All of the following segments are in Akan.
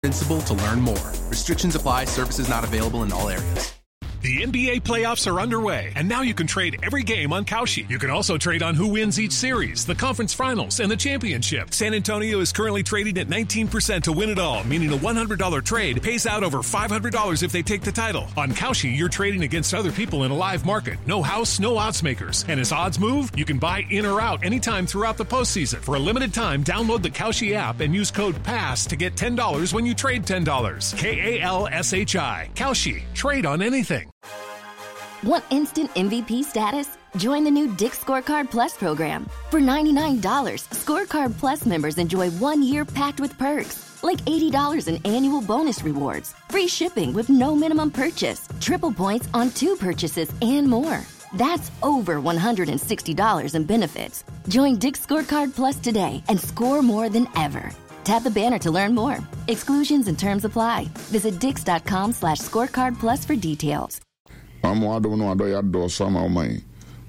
Principal to learn more. Restrictions apply, services not available in all areas. The NBA playoffs are underway, and now you can trade every game on Kalshi. You can also trade on who wins each series, the conference finals, and the championship. San Antonio is currently trading at 19% to win it all, meaning a $100 trade pays out over $500 if they take the title. On Kalshi, you're trading against other people in a live market. No house, no odds makers. And as odds move, you can buy in or out anytime throughout the postseason. For a limited time, download the Kalshi app and use code PASS to get $10 when you trade $10. K A L S H I. Kalshi. Trade on anything. Want instant MVP status? Join the new Dick's Scorecard Plus program. For $99, Scorecard Plus members enjoy one year packed with perks, like $80 in annual bonus rewards, free shipping with no minimum purchase, triple points on two purchases, and more. That's over $160 in benefits. Join Dick's Scorecard Plus today and score more than ever. Tap the banner to learn more. Exclusions and terms apply. Visit dix.com slash scorecard plus for details. Wama w'adom ne w'adɔeɛ adɔɔso ama wo man.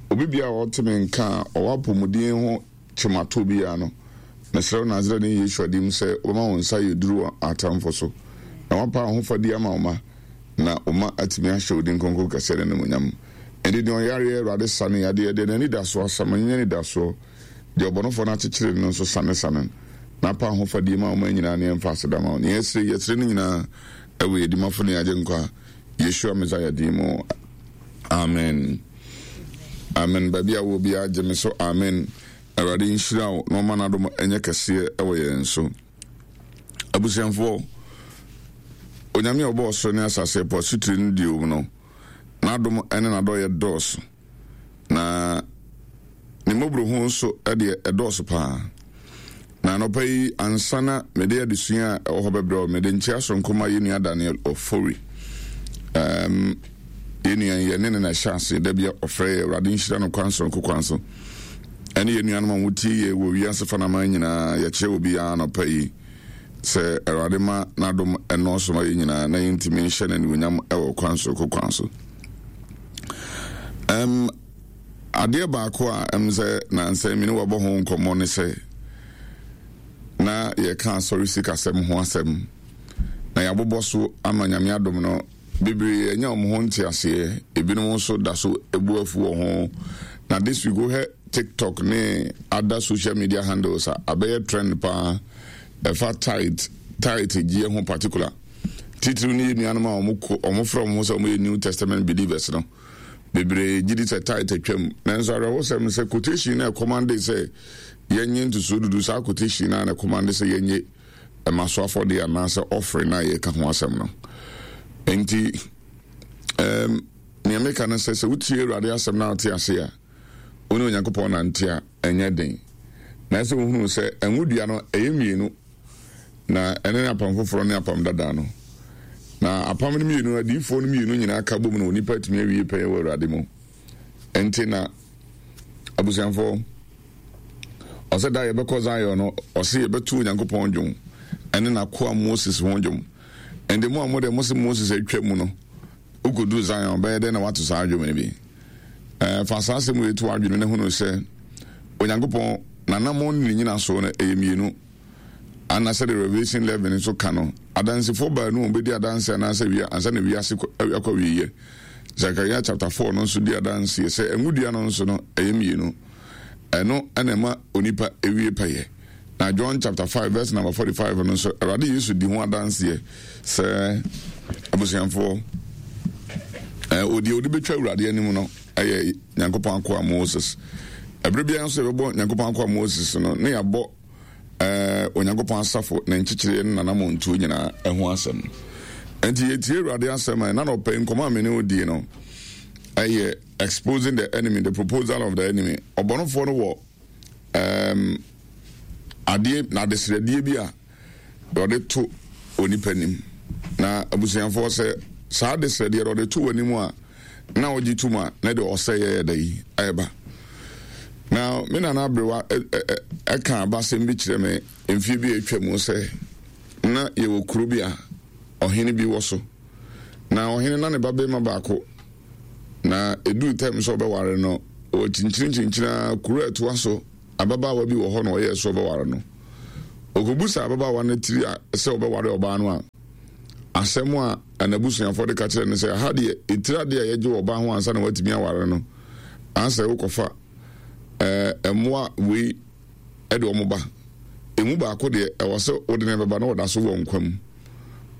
Obi biara a ɔte me nka a ɔwɔ apɔmuden ho kyemato biara no, mesrɛ wo Nasareni Yeshua din mu sɛ wobɛma wo nsa ayɛ duru wɔ atamfo so, na woapa ahofadie ama wo mma, na wo mma atumi ahyɛ wo din kronkron kɛseɛ no animuonyam. Enti deɛ ɔyareɛ, Awurade sa no yadeɛ, deɛ n'anidasoɔ asa no, ɔnyɛ anidasoɔ, deɛ ɔbɔnefoɔ no akyekyere no nso sanesane no, na pa ahofadie ma wo mma nyinaa na yɛmfa aseda ma wo. Nea yɛsrɛ yi, yɛsrɛ ne nyinaa wɔ yɛn Dimafo ne yɛn Agyenkwa, Yeshua Messiah din mu. Amen. Amen. Baabi a wɔ biara gye me so. Amen. Awurade nhyira wo na ɔma n'adom nyɛ kɛseɛ wɔ yɛn so. Abusuafoɔ, Onyame a ɔbɔɔ ɔsoro ne asase, ɛpo asutire ne deɛ ɛwɔ mu no, n'adom ne n'adɔeɛ dɔɔso. Na ne mmɔborɔhunu nso deɛ ɛdɔɔso paa. Na anɔpa yi, ansa na mede adesua a ɛwɔ hɔ bɛbrɛ wo, mede nkyea soronko ma yɛn nua Daniel Ofori. Um, yɛn nua yi, yɛne ne na ɛhyɛ ase da bi a ɔfrɛ yɛ Awurade nhyira no kwan soronko kwan so. Ɛne yɛn nuanom a wɔtie yɛ wɔ wiase fanaman nyinaa, yɛkyerɛ wɔ biara anɔpa yi sɛ Awurade ma n'adom ɛnɔɔso ma yɛn nyinaa na yɛntumi nhyɛ no animuonyam wɔ kwan soronko kwan so. Um, adeɛ baako a ɛm sɛ nansa mi ne wɔbɔ ho nkɔmmɔ ne sɛ na yɛka asɔre sikasɛm ho asɛm na yɛabobɔ so ama nyame adom no bebree anya wɔn ho nteaseɛ ebinom nso da so ebu afu wɔ ho na this week wohwɛ tiktok ne other social media handles a abɛyɛ trend paa ɛfa tight tight gyeɛ ho particular Titiriw ne yɛn nuanom a wɔfrɛ wɔn ho sɛ wɔyɛ New Testament believers no. Bebree gye di sɛ tithe atwam. Nanso awerɛhosɛm ne sɛ quotation no a ɛkɔmande sɛ yɛnyɛ ntosoɔ dudu, saa quotation no ara na ɛkɔmande sɛ yɛnyɛ ɛma so afɔdeɛ anaasɛ offering no a yɛreka ho asɛm no. Enti, um, nea meka no sɛ sɛ wotie Awurade asɛm na wote ase a, wo ne Onyankopɔn nante a, ɛnyɛ den. Na ɛsɛ wohunu sɛ ɛngo dua no ɛyɛ mmienu. Na ɛno ne apam foforɔ ne apam dada no. Na apam no mmienu, adiyifoɔ no mmienu nyinaa ka bom na onipa atumi awie pɛyɛ wɔ Awurade mu. Ɛnti na abusuafoɔ, ɔsɛ da yɛbɛkɔ Zion no, ɔse yɛbɛto Onyankopɔn dwom ɛne n'akoa Moses ho dwom. Ɛnde mo a mo deɛ mo se Moses atwa mu no, wokɔduru Zion bɛyɛ dɛn na woato saa dwom no bi? Ɛɛ, fa saa asɛm wei to w'adwene na hunu sɛ Onyankopɔn n'anammɔn ne ne nyinasoɔ no ɛyɛ mmienu. Ana sɛdeɛ Revelation 11 nso ka no, adansefoɔ baanu a wɔbɛdi adanse anaasɛ wia ansa na wiase akɔ awieɛ. Zechariah chapter 4 no nso di adanseɛ sɛ ngo dua no nso no ɛyɛ mmienu. Ɛno na ɛma onipa ewie pɛyɛ. Na John chapter 5 verse number 45 no nso Awurade Yesu di ho adanseɛ sɛ abusuafoɔ ɔdeɛ ɔde bɛtwa Awurade anim no ɛyɛ Nyankopɔn akoa Moses. Ɛberɛ biara nso yɛbɛbɔ Nyankopɔn akoa Moses no ne yɛabɔ eh, Onyankopɔn asafo ne nkyekyereɛ ne n'anammɔntuo nyinaa ɛho asɛm. Enti yɛtie Awurade asɛm a ɛna nɔpɛ nkɔmmɔ a me ne wo die no ɛyɛ exposing the enemy, the proposal of the enemy. Ɔbɔnefoɔ no wɔ um, adeɛ na adesrɛdeɛ bi a ɔde to onipa nim. Na abusuafoɔ sɛ saa adesrɛdeɛ no ɔde to w'anim a na ɔgye tom a na de ɔsɛeɛ yɛ dɛ yi ɛba. Na me nana aberewa ɛka abasɛm bi kyerɛ me mfeɛ bi a atwa mu sɛ na yɛwɔ kuro bi a ɔhene bi wɔ so. Na ɔhene na ne ba bɛrima baako na ɛduru tɛm sɛ ɔbɛware no ɔkyinkyini kyinkyini ara kuro a ɛtoa so ababaawa bi wɔ hɔ na ɔyɛɛ so ɔbɛware no. Ɔkɔbusaa ababaawa no tiri a sɛ ɔbɛware ɔbaa no a, asɛm a n'abusuafoɔ de ka kyerɛ no sɛ, ha deɛ, etiri adeɛ a yɛgye wɔ ɔbaa ho ansa na watumi aware no, ansɛ wokɔfa ɛɛ mmoa wei de wɔn ba. Emu baako deɛ, ɛwɔ sɛ wode no bɛba na ɔda so wɔ nkwa mu.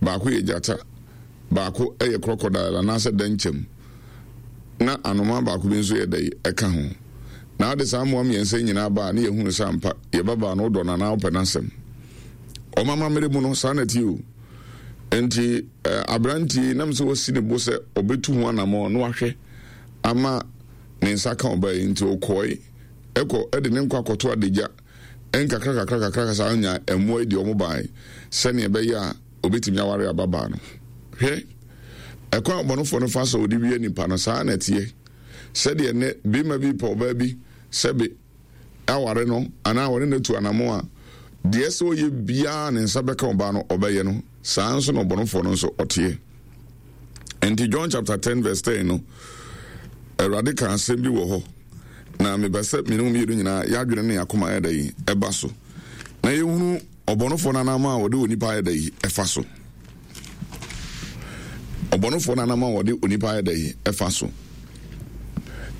Baako yɛ gyata, baako yɛ crocodile anaasɛ dɛnkyɛm, na anomaa baako bi nso yɛ dɛ ɛka ho. Na wode saa mmoa mmiɛnsa yi nyinaa ba a, na yɛhunu sɛ ampa yɛ babaa no wodɔ no anaa wopɛ n'asɛm. Wɔn amammerɛ mu no, saa na ɛteɛ o. Enti eh, aberanteɛ yi nam sɛ wasi ne bo sɛ ɔbɛtu ho anammɔn na wahwɛ ama ne nsa ka ɔbaa yi nti ɔkɔe kɔ de ne nkwa kɔto adagya nkakrakakrakakra saa nya mmoa yi deɛ wɔn bae sɛnea ɛbɛyɛ a obetumi aware ababaa no. Hwɛ, ɛkwan a ɔbɔnefoɔ no fa so a ɔde wia nipa no, saa na ɛteɛ. Sɛdeɛ nnɛ barima bi pɛ ɔbaa bi sɛbe aware no anaa ɔne no atu anamɔn a, deɛ ɛsɛ ɔyɛ biara ne nsa bɛka ɔbaa no ɔbɛyɛ no, saa nso na ɔbɔnefoɔ no nso ɔteɛ. Nti John chapter 10 verse 10 no, Awurade ka asɛm bi wɔ hɔ, na mepɛ sɛ mene mu mmienu nyinaa yɛadwene ne yɛakoma ayɛ dɛ yi ɛba so, na yɛhunu ɔbɔnefoɔ no anam a wɔde onipa ayɛ dɛ yi ɛfa so. Ɔbɔnefoɔ no anam a wɔde onipa ayɛ dɛ yi ɛfa so.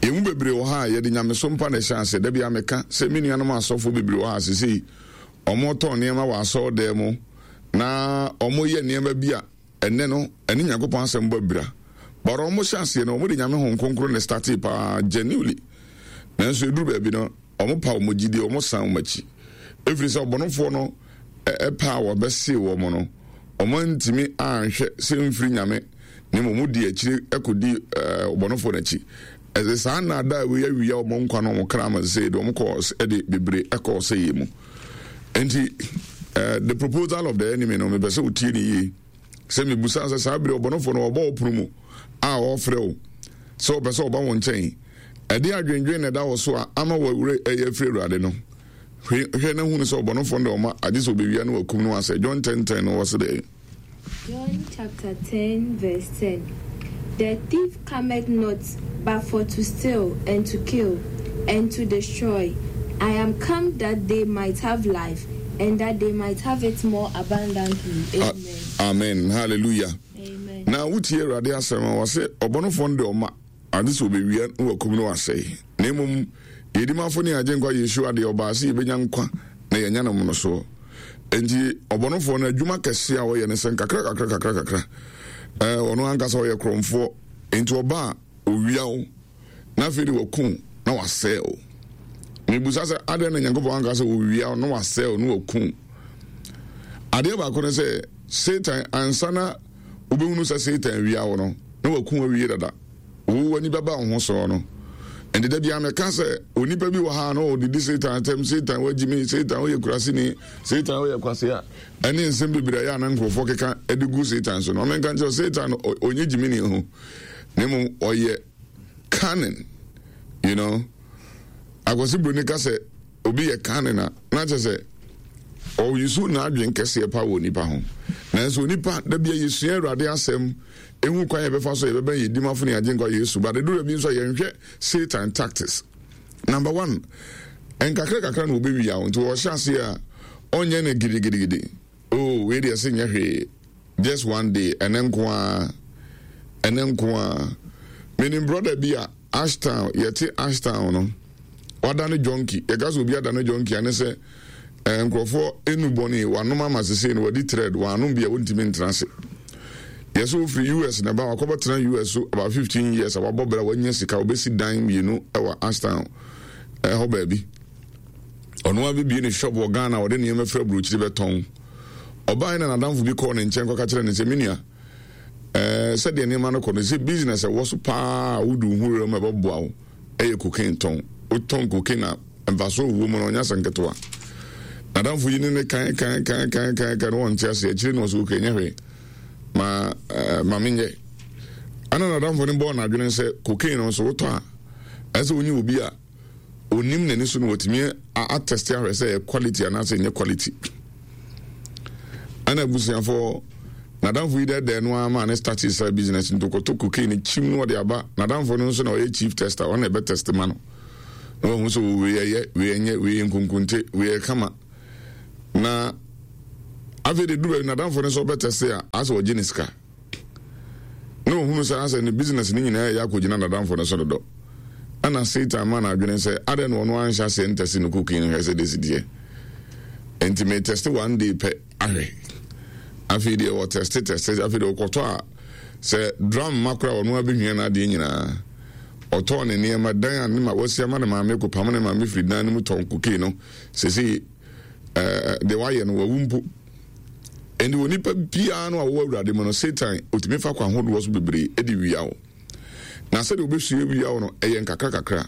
Yɛn mu bebree wɔ ha a yɛde nyamesom pa na ɛhyɛ ase. Da bi a meka sɛ me nuanom asɔfoɔ bebree wɔ ha sesei wɔtɔn nneɛma wɔ asɔredan mu na wɔyɛ nneɛma bi a Ɛnnɛ no ɛne Nyankopɔn asɛm bɔ abira. But ɔmo hyɛ aseɛ no ɔmo de Nyame Honhom Kronkron na ɛstartee paa genuinely. Nanso ɛduru baabi no ɔmo pa ɔmo gyidie, ɔmo san ɔmo akyi. Ɛfiri sɛ ɔbɔnefoɔ no pɛ a wɔbɛsee wɔn no, ɔmo antumi anhwɛ sɛ ɛmfiri Nyame na mmom ɔmo dii akyire kɔdii ɔbɔnefoɔ no akyi. Ɛsɛ saa nnaadaa wei awia ɔmo nkwa ne ɔmo kra ama sesei de ɔmo kɔɔ ɛde bebree ɛkɔɔ sɛeɛ mu. Nti eh, the proposal of the enemy no mepɛ sɛ wotie ne yie sɛ mebusa sɛ saa bere ɔbɔnefo no ɔbɔ wo pono mu a ɔrefrɛ wo sɛ ɔpɛ sɛ ɔba wo nkyɛn ɛde adwendwen na ɛda wɔ so a ama wɔwerɛ ɛyɛ afiri awurade no hwɛ na hunu sɛ ɔbɔnefo no de ɔma agye sɛ ɔbɛwia no wakum no asɛ John 10 10 no wɔ se dɛ. John chapter 10 verse 10 The thief cometh not but for to steal and to kill and to destroy. I am come that they might have life and that they might have it more abundantly. Ah, Amen. Amen. Hallelujah. Amen. Na wotie Awurade asɛm a wɔse ɔbɔnefoɔ no de ɔma ade sɛ ɔbɛwia na wakum no wasɛe. Na mmom yɛdimafo ne Agyenkwa Yeshua deɛ ɔbaa sɛ yɛbɛnya nkwa na yɛanya no mmorosoɔ. Enti ɔbɔnefoɔ no adwuma kɛseɛ a ɔyɛ ne sɛ nkakra kakra kakra kakra. Ɛɛ ɔno ankasa ɔyɛ korɔmfoɔ. Enti ɔba a owia wo na afei de waku wo na wasɛe wo. Mebusa sɛ adɛn na Nyankopɔn anka sɛ owia wo na wasɛe wo na waku wo? Adeɛ baako ne sɛ Satan ansa na wobɛhunu sɛ Satan wia wo no na waku wo awie dada. Wo w'ani bɛba wo ho soɔ no. Nti da biara meka sɛ onipa bi wɔ ha na ɔdidi Satan atɛm, Satan wagyi me, Satan woyɛ kuraseni, Satan woyɛ kwasea, ɛne nsɛm bebree a ɛyɛ a na nkurɔfoɔ keka de gu Satan so no. Ɔmenka nkyerɛ Satan ɔnyɛ gyimini ho, na mmom ɔyɛ cunning, you know. Akwasi Broni ka sɛ obi yɛ cunning a, na kyerɛ sɛ ɔyusu n'adwen kɛseɛ pa wɔ nipa ho. Nanso onipa, da bia yɛsua Awurade asɛm, ehu kwan yɛbɛfa so yɛbɛbɛn yɛn dimafo ne Agyenkwa Yesu, but ɛduru bi nso a yɛnhwɛ Satan tactics. Number one, nkakra kakra na wɔbɛwia wo, nti wɔhyɛ aseɛ a ɔnyɛ no gidigidigidi. Oh, wei deɛ se nyɛ hwee, just one day, ɛnɛ nko ara, ɛnɛ nko ara. Menim brother bi a Ashtown, yɛte Ashtown no, wadane junkie. Yɛka sɛ obi adane junkie a ne sɛ eh, nkurɔfoɔ enu bɔne, wanom ama sesei no wadi thread, wanom bi a wɔntumi ntena ase. Yɛsɛ ofiri US na ba wakɔbɛtena US so about 15 years a wabɔ bra wanya sika, obɛsi dan mmienu wɔ Ashtown ɛhɔ baabi. Ɔno ara bɛbie ne shop wɔ Ghana a ɔde nneɛma firi aburokyiri bɛtɔn. Ɔbaeɛ na n'adamfo bi kɔɔ ne nkyɛn kɔka kyerɛ no sɛ, me nua, Ɛɛ, sɛdeɛ nneɛma no kɔ no, sɛ business a ɛwɔ so paa a wode wo ho wura mu a ɛbɛboa wo yɛ cocaine tɔn. Wotɔn cocaine a, mfasoɔ a ɛwɔ mu no, ɔnyɛ asɛm ketewa. N'adamfo yi ne ne kan kan kan kan kan kan no wɔnte aseɛ. Akyire no ɔsɛ okay, nyɛ hwee. Ma ɛɛ ma menyɛ. Ɛna n'adamfo no bɔɔ n'adwene sɛ cocaine no nso wotɔ a, ɛsɛ sɛ wonye obi a onim n'ani so no watumi atɛste ahwɛ sɛ ɛyɛ quality anaasɛ ɛnyɛ quality. Ɛna abusuafoɔ n'adamfo yi dɛdɛɛ no ara maa ne starte saa business nti ɔkɔtɔ cocaine kyim no ɔde aba. N'adamfo no nso na ɔyɛ chief tester, ɔno na ɛbɛ test ma no na wahu sɛ wei ɛyɛ, wei ɛnyɛ, wei yɛ nkonkonte, wei yɛ kama. Na. Afei de duru baabi n'adamfo no sɛ ɔbɛtɛste a, asɛ ɔgye ne sika. Na ohunu sɛ asɛ ne business no nyinaa yɛ akɔgyina n'adamfo no so dodo. Ɛna Satan ma no adwene sɛ adɛn na ɔno anhyɛ aseɛ ntɛste ne cooking no hwɛ sɛ desi deɛ. Enti me tɛste one day pɛ ahwɛ. Afei deɛ ɔtɛste tɛste afei deɛ ɔkɔtɔ a sɛ drum ma koraa ɔno abɛhwia n'adeɛ nyinaa. Ɔtɔɔ ne nneɛma dan a ne ma wasi ama ne maame kɔpam ne maame firi dan no mu tɔn cocaine no sese ɛɛ deɛ wayɛ no wawu mpo. Ɛnde onipa biara no a wɔwɔ Awurade mu no, Satan otumi fa kwan hodoɔ so bebree de wia wo. Na sɛdeɛ obɛsua wia wo no, ɛyɛ nkakra kakra.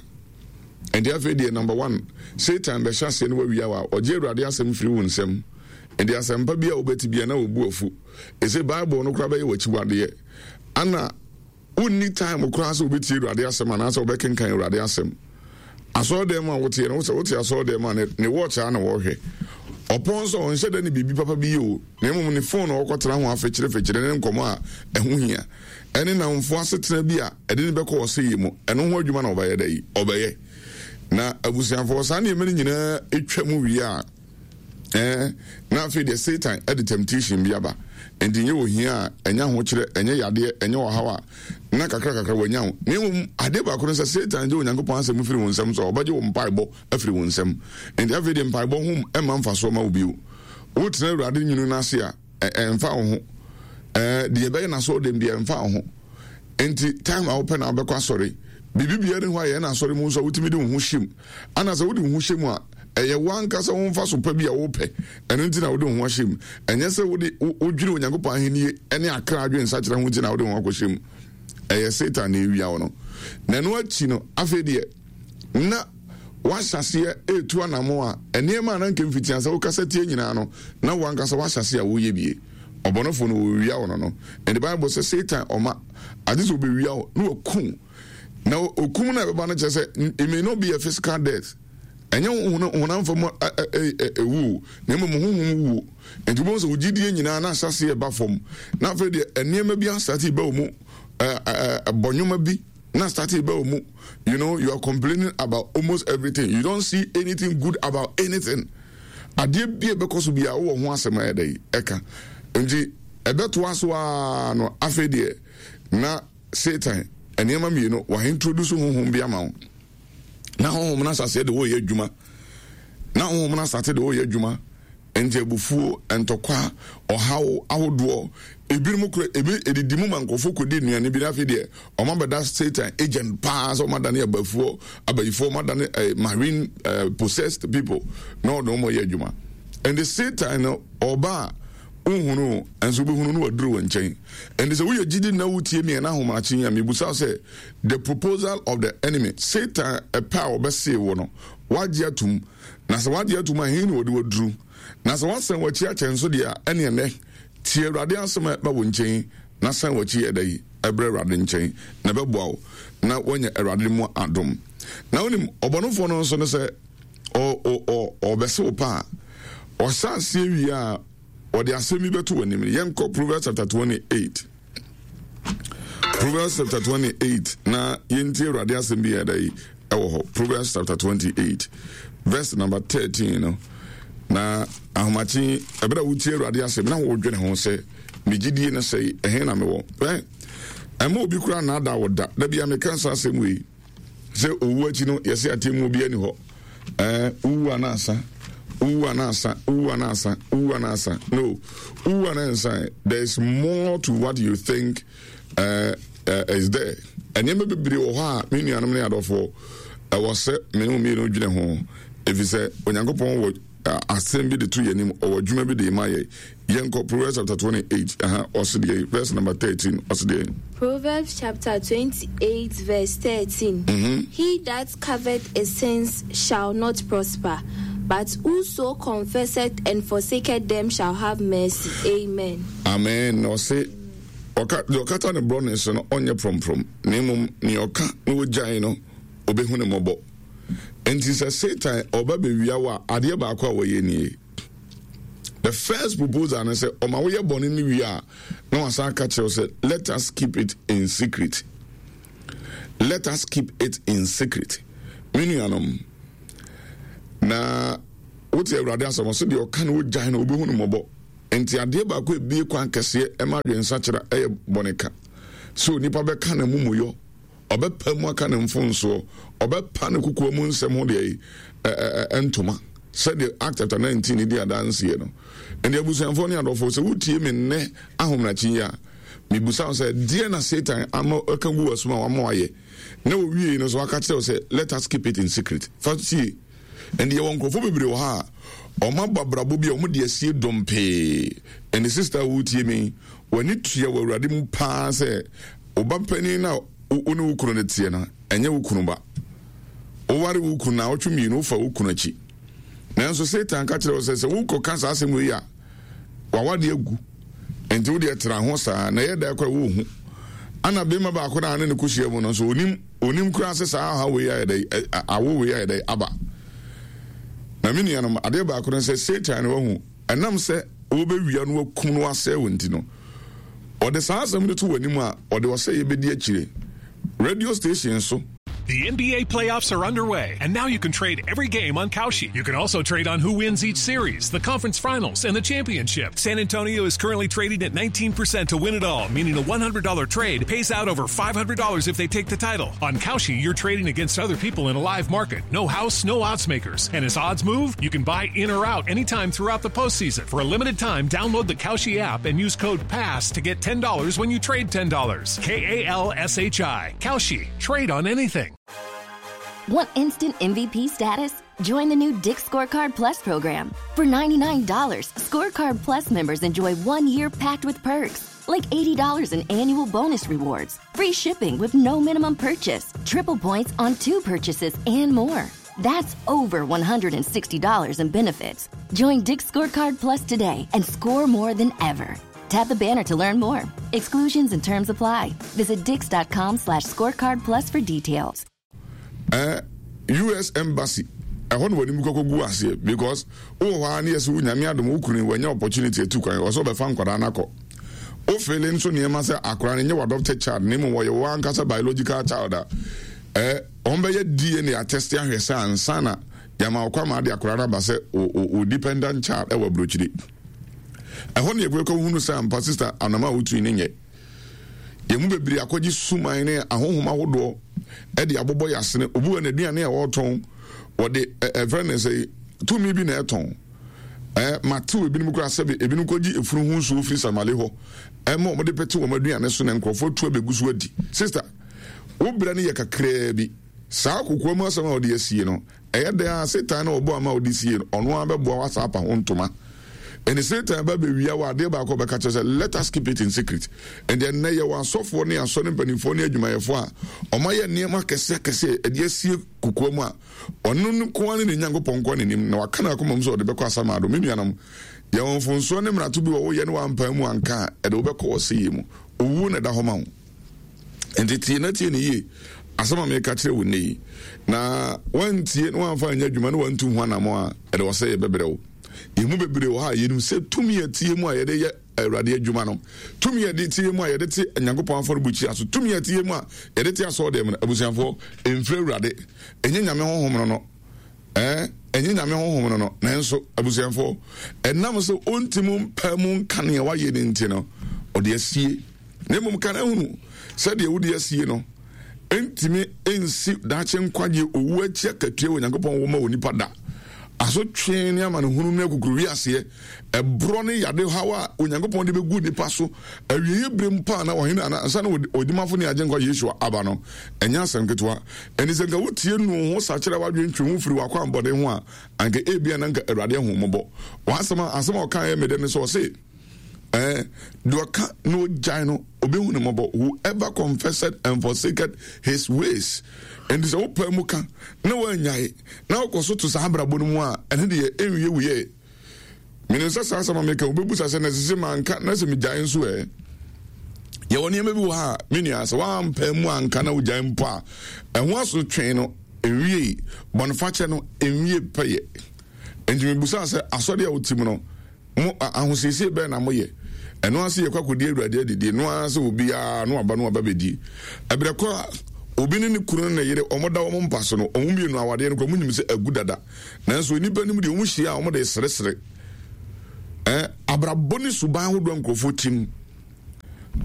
Ɛnde afei deɛ number one, Satan bɛhyɛ aseɛ no wawia wo a, ɔgye Awurade asɛm firi wo nsam. Ɛnde asɛmpa bi a wobɛte bia na wɔbu afu. Ɛsɛ Bible no koraa bɛyɛ w'akyiwadeɛ. Ana Wonni time koraa sɛ wobɛtie Awurade asɛm anaasɛ wobɛkenkan Awurade asɛm. Asɔredan mu a woteɛ no, sɛ wote asɔredan mu a, ne watch a na wɔhwɛ. Ɔpɔn sɛ ɔnhyɛ da ne biribi papa bi yɛ o, na mmom ne phone a ɔkɔtena ho afekyerefekyere ne nkɔmmɔ a ɛho hia, ɛne nnamfo asetena bi a ɛde no bɛkɔ ɔsɛeɛ mu, ɛno ho adwuma na ɔbɛyɛ da yi, ɔbɛyɛ. Na abusuafoɔ, saa nneɛma no nyinaa twa mu wie a, Ɛɛ, na afei deɛ Satan de temptation bi aba. Enti nyɛ ohia a, ɛnyɛ ahokyerɛ, ɛnyɛ yadeɛ, ɛnyɛ ɔhaw a, na kakra kakra wanya wo. Na mmom, adeɛ baako ne sɛ, Satan gye Onyankopɔn asɛm firi wo nsam so a, ɔbɛgye wo mpaebɔ afiri wo nsam. Enti afei deɛ mpaebɔ ho mma mfasoɔ ma wo bio. Wotena Awurade nwunu no ase a, ɛmfa wo ho. Ɛɛ, deɛ ɛbɛyɛ n'asɔrɔdɛm deɛ ɛmfa wo ho. Enti time a wopɛ na wobɛkɔ asɔre. Biribi biara ni hɔ a yɛn asɔre mu nso a wotumi de wo ho hyɛ mu. Ana sɛ wode wo ho hyɛ mu a, ɛyɛ w'ankasa wo mfaso pa bi a wopɛ, ɛno nti na wode wo ho ahyɛ mu. Ɛnyɛ sɛ wode wodwene Onyankopɔn ahenni ne akra adwensakyera ho nti na wode wo ho akɔhyɛ mu. Ɛyɛ Satan na ewia wo no. Na ɛno akyi no, afei deɛ na wahyɛ aseɛ retu anammɔn a nneɛma a na nka mfitiaseɛ wokasa tie nyinaa no, na w'ankasa wahyɛ aseɛ a woyɛ bie. Ɔbɔnefo no wɔwia wo no no. And the Bible sɛ Satan ɔma ade sɛ ɔbɛwia wo na waku na okum no a ɛbɛba no kyerɛ sɛ it may not be a physical death ɛnyɛ honam fam ɛwu na mmom honhom wuo nti wobɛhu sɛ wogyidie nyinaa na ahyɛseɛ ɛba fam na afei deɛ nneɛma bi asate ba wɔ mu bɔ nnwoma bi na asate ba wɔ mu. You know, you are complaining about almost everything. You don't see anything good about anything. Adeɛ bi a ɛbɛkɔ so biara wowɔ ho asɛm a ɛda yi ɛka nti ɛbɛtoa so ara no afei deɛ na Satan nneɛma mmienu wa introduce honhom bi ama wo na honhom no asaseɛ de wɔyɛ adwuma na honhom no asate de wɔyɛ adwuma nti abufuo ntɔkwa ɔhaw ahodoɔ ebinom kura ebi edidi mu ma nkurɔfoɔ kɔdi nnuane bi na afei deɛ wɔn abɛda Satan agent paa sɛ wɔn adane abafuo abayifoɔ wɔn adane eh, marine eh, possessed people na ɔde wɔn yɛ adwuma ɛnde Satan no ɔba a wohunu nso wobɛhunu no waduru wɔn nkyɛn ɛnde sɛ woyɛ gyidi na wotie mi ɛna ahomakye yi a mebusa sɛ the proposal of the enemy Satan ɛpɛ a ɔbɛsee wo no wagye atum na sɛ wagye atum a he na wɔde waduru na sɛ wasan wakyi akyɛ nso deɛ a ɛne ɛnɛ tie Awurade asɛm a ɛba wo nkyɛn na san wakyi ɛda yi ɛbrɛ Awurade nkyɛn na ɛbɛboa wo na woanya Awurade mu adom na wonim ɔbɔnefoɔ no nso no sɛ ɔbɛse wo pa a ɔhyɛ aseɛ wie a ɔde asɛm bi bɛto w'anim. Yɛnkɔ Proverbs chapter 28. Proverbs chapter 28 na yɛntie Awurade asɛm bi yɛ da yi ɛwɔ hɔ. Proverbs chapter 28 verse number 13 no. Na ahomakye ɛberɛ a wotie Awurade asɛm na wodwene ho sɛ me gyidie no sɛe ɛhe na mewɔ. Ɛma obi koraa naadaa wɔ da. Da bia meka saa asɛm wei. Sɛ owu akyi no yɛsɛ atemmuo bi ani hɔ. Ɛɛ wowu ana asa? Wowu ana asa? Wowu ana asa? Wowu ana asa? No, wowu ana nsa. There is more to what you think uh, uh, is there. Nneɛma bebree wɔ hɔ a me nuanom ne adɔfoɔ ɛwɔ sɛ me ne mmienu dwene ho ɛfiri sɛ Onyankopɔn wɔ asɛm bi de to yɛn anim, ɔwɔ adwuma bi de ma yɛn. Yɛnkɔ Proverbs chapter 28, aha, ɔse deɛ, verse number 13, ɔse deɛ. Proverbs chapter 28, verse 13. He that covereth his sins shall not prosper, but whoso confesseth and forsaketh them shall have mercy. Amen. Amen. Na ɔse, ɔka, deɛ ɔkata ne borɔne so no, ɔnyɛ prɔmprɔm, na mmom nea ɔka na ɔgyae no, ɔbɛhu ne mmɔbɔ. Enti sɛ Satan ɔba bɛwia wo a, adeɛ baako a wɔyɛ nie. The first proposal no sɛ ɔma woyɛ bɔne no wie a, na wasan aka kyerɛ wo sɛ let us keep it in secret. Let us keep it in secret. Me nuanom, na wote Awurade asɛm ɔsɛ deɛ ɔka no wogyae no wobɛhu no mmɔbɔ. Nti adeɛ baako a ebie kwan kɛseɛ ɛma adwensakyera ɛyɛ bɔneka. Sɛ onipa bɛka n'amumuyɔ, ɔbɛpa mu aka ne mfomsoɔ, ɔbɛpa ne kokoa mu nsɛm ho deɛ ntoma, sɛdeɛ Act chapter 19 di adanseɛ no. Ɛnti abusuafoɔ ne adɔfoɔ, sɛ wotie me nnɛ ahomakye yi a, mebusa wo sɛ, deɛ na Satan ama aka gu w'asom a wama wayɛ, na owiei no so aka kyerɛ wo sɛ, let us keep it in secret. Fa sie. Ɛnde yɛwɔ nkurɔfoɔ bebree wɔ ha a wɔn abɔ abrabɔ bi a wɔn de asie dompee. Ɛnde sista a woretie me, w'ani tua wɔ Awurade mu paa sɛ wo ba panin no a wo ne wo kunu no teɛ no, ɛnyɛ wo kunu ba. Woware wo kunu naawɔtwe mmienu, wofa wo kunu akyi. Nanso Satan ka kyerɛ wo sɛ sɛ wokɔka saa asɛm wei a, w'awadeɛ agu. Nti wo deɛ tra ho saa na ɛyɛ da kora wohu. Ana bema baako na ne ne kɔhyia mu no nso onim onim koraa sɛ saa ɔhaw wei ayɛ dɛ awo wei ayɛ dɛ aba. Na me nuanom adeɛ baako no sɛ Satan no wahu ɛnam sɛ wɔbɛwia no wakum no asɛe wo nti no ɔde saa asɛm no to w'anim a ɔde ɔsɛeɛ bɛdi akyire radio station so. The NBA playoffs are underway, and now you can trade every game on Kalshi. You can also trade on who wins each series, the conference finals, and the championship. San Antonio is currently trading at 19% to win it all, meaning a $100 trade pays out over $500 if they take the title. On Kalshi, you're trading against other people in a live market. No house, no odds makers. And as odds move, you can buy in or out anytime throughout the postseason. For a limited time, download the Kalshi app and use code PASS to get $10 when you trade $10. K A L S H I. Kalshi. Trade on anything. Want instant MVP status? Join the new Dick's Scorecard Plus program. For $99, Scorecard Plus members enjoy 1 year packed with perks, like $80 in annual bonus rewards, free shipping with no minimum purchase, triple points on 2 purchases, and more. That's over $160 in benefits. Join Dick's Scorecard Plus today and score more than ever. Tap the banner to learn more. Exclusions and terms apply. Visit dix.com/scorecard plus for details. Eh, US embassy ɛhɔ na w'anim kɔkɔ gu aseɛ because wowɔ hɔ a ne yɛsɛ wo nyame adom wo kunu wanya opportunity atu kwan wɔ sɛ ɔbɛfa nkwadaa no akɔ wofele nso nneɛma sɛ akwadaa no nyɛ w'adopted child na mmom wɔyɛ wɔn ankasa biological child a eh, wɔn bɛyɛ DNA atɛste ahwɛ sɛ ansa na yɛama ɔkɔ ama ade akwadaa no aba sɛ o dependent child ɛwɔ aburokyire. Ɛhɔ na yɛkɔ hunu sɛ ampa sista anam a wotui no nyɛ. Yɛn mu bebree akɔgye suman ne ahonhom ahodoɔ de abobɔ yɛn asene. Obi wɔ n'aduane a ɔretɔn, wɔde ɛfrɛ no sɛ tumi bi na ɛtɔn. Ɛɛ matew ebinom koraa sɛbe ebinom kɔgye efunu ho nsuo firi Samale hɔ ɛma wɔde pete wɔn aduane so na nkurɔfoɔ atu abɛgu so adi. Sista, wo brɛ no yɛ kakraa bi. Saa kokoam asɛm a wɔde asie no, Ɛyɛ dɛn ara a, Satan na ɔbɔ ama wode sie no, ɔno ara bɛboa wo asan apa ho ntoma. Ɛnti Satan ba bɛwia wo a, adeɛ baako a ɔbɛka kyerɛ sɛ, let us keep it in secret. Ɛnti ɛnnɛ yɛwɔ asɔfoɔ ne asɔre mpanimfoɔ ne adwumayɛfoɔ a wɔayɛ nneɛma akɛseɛ akɛseɛ ɛde asie kokoa mu a, ɔno nko ara ne ne Nyankopɔn nko ara na nim, na waka n'akoma mu sɛ ɔde bɛkɔ asamado. Me nuanom, yɛwɔ mfomsoɔ ne mmarato bi wɔ woyɛ ne woampae mu anka a, ɛde wobɛkɔ ɔsɛeɛ mu. Owuo na ɛda hɔ ma wo. Enti tie na tie no yie, asɛm a meka kyerɛ wo nnɛ yi. Na woantie na woamfa anyɛ adwuma na woantu ho anammɔn a, ɛde ɔsɛeɛ bɛbrɛ wo. Yɛn mu bebree wɔ ha a yɛnim sɛ tumi a ɛteɛ mu a yɛde yɛ Awurade adwuma no, tumi a ɛde teɛ mu a yɛde te Nyankopɔn afɔrebukyia so, tumi a ɛteɛ mu a yɛde te asɔɔdan mu no, abusuafoɔ, ɛmfiri Awurade. Ɛnyɛ Nyame honhom no no. Ɛɛ, ɛnyɛ Nyame honhom no no. Nanso, abusuafoɔ, ɛnam sɛ ɔntim mpaa mu nka nea wayɛ no nti no, ɔde asie. Na mmom ka na hunu sɛ deɛ wode asie no ntumi nsi daakye nkwagye owu akyi akatua wɔ Nyankopɔn wɔ ma onipa da. Asotwe ne amanehunu ne akukuruwiaseɛ, ɛborɔ ne yade haw a Onyankopɔn de bɛgu nipa so awieeɛ berɛ mu paa na ɔhene ana ansa na odimafo ne agyenkwa Yeshua aba no, ɛnyɛ asɛm ketewa. Ɛnti sɛ nka wotie nu ho sakyera w'adwene twe ho firi w'akwammɔne ho a, anka ebia na nka Awurade ahu wo mmɔbɔ. W'asɛm a asɛm a ɔkaeɛ me dɛ ne sɛ ɔse, Eh, deɛ ɔka na ɔgyae no, ɔbɛhu ne mmɔbɔ. Whoever confessed and forsaked his ways. Ɛnti sɛ wopaa mu ka na woanyae na wokɔ so to saa abrabɔ no mu a, ɛno deɛ ɛnwie wo yɛ. Menim sɛ saa asɛm a meka wobɛbusa sɛ na sese manka na sɛ megyae nso ɛ. Yɛwɔ nneɛma bi wɔ ha a, me nua, sɛ woampaa mu anka na wogyae mpo a, ɛho asotwe no ɛnwiei, bɔnefakyɛ no ɛnwie pɛyɛ. Enti mebusaa sɛ, asɔre a wote mu no, Mo, a, ahosiesie bɛn na moyɛ? Ɛno ara sɛ yɛkɔ akɔdi Awurade adidie, ɛno ara sɛ obiara no aba no aba bɛdi. Ɛberɛ kɔ a, obi ne ne kunu ne ne yere, wɔn da wɔn mpa so no, wɔn mmienu awadeɛ no koraa, wɔn nim sɛ agu dada. Nanso nnipa anim deɛ, wɔn hyia a, wɔn de seresere. Eh, Abrabɔ ne suban ahodoɔ a nkurɔfoɔ tim.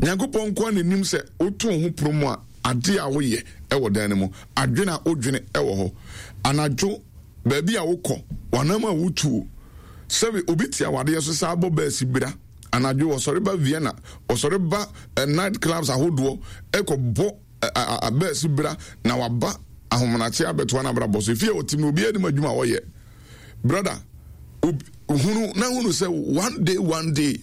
Nyankopɔn nko ara na nim sɛ woto wo ho pono mu a, adeɛ a woyɛ wɔ dan no mu, adwene a wodwene wɔ hɔ, anadwo baabi a wokɔ, w'anam a wotuo. Sɛbe obi te awadeɛ so saa bɔ bɛɛsi bira anadwo, wɔsɔre ba Vienna, wɔsɔre ba eh, night clubs ahodoɔ ɛkɔ bɔ eh, bɛɛsi bira na waba ahomenakye abɛtoa no abrabɔ so. Efie a ɔte mu obiara nim adwuma a ɔyɛ. Brother, hunu na hunu sɛ one day one day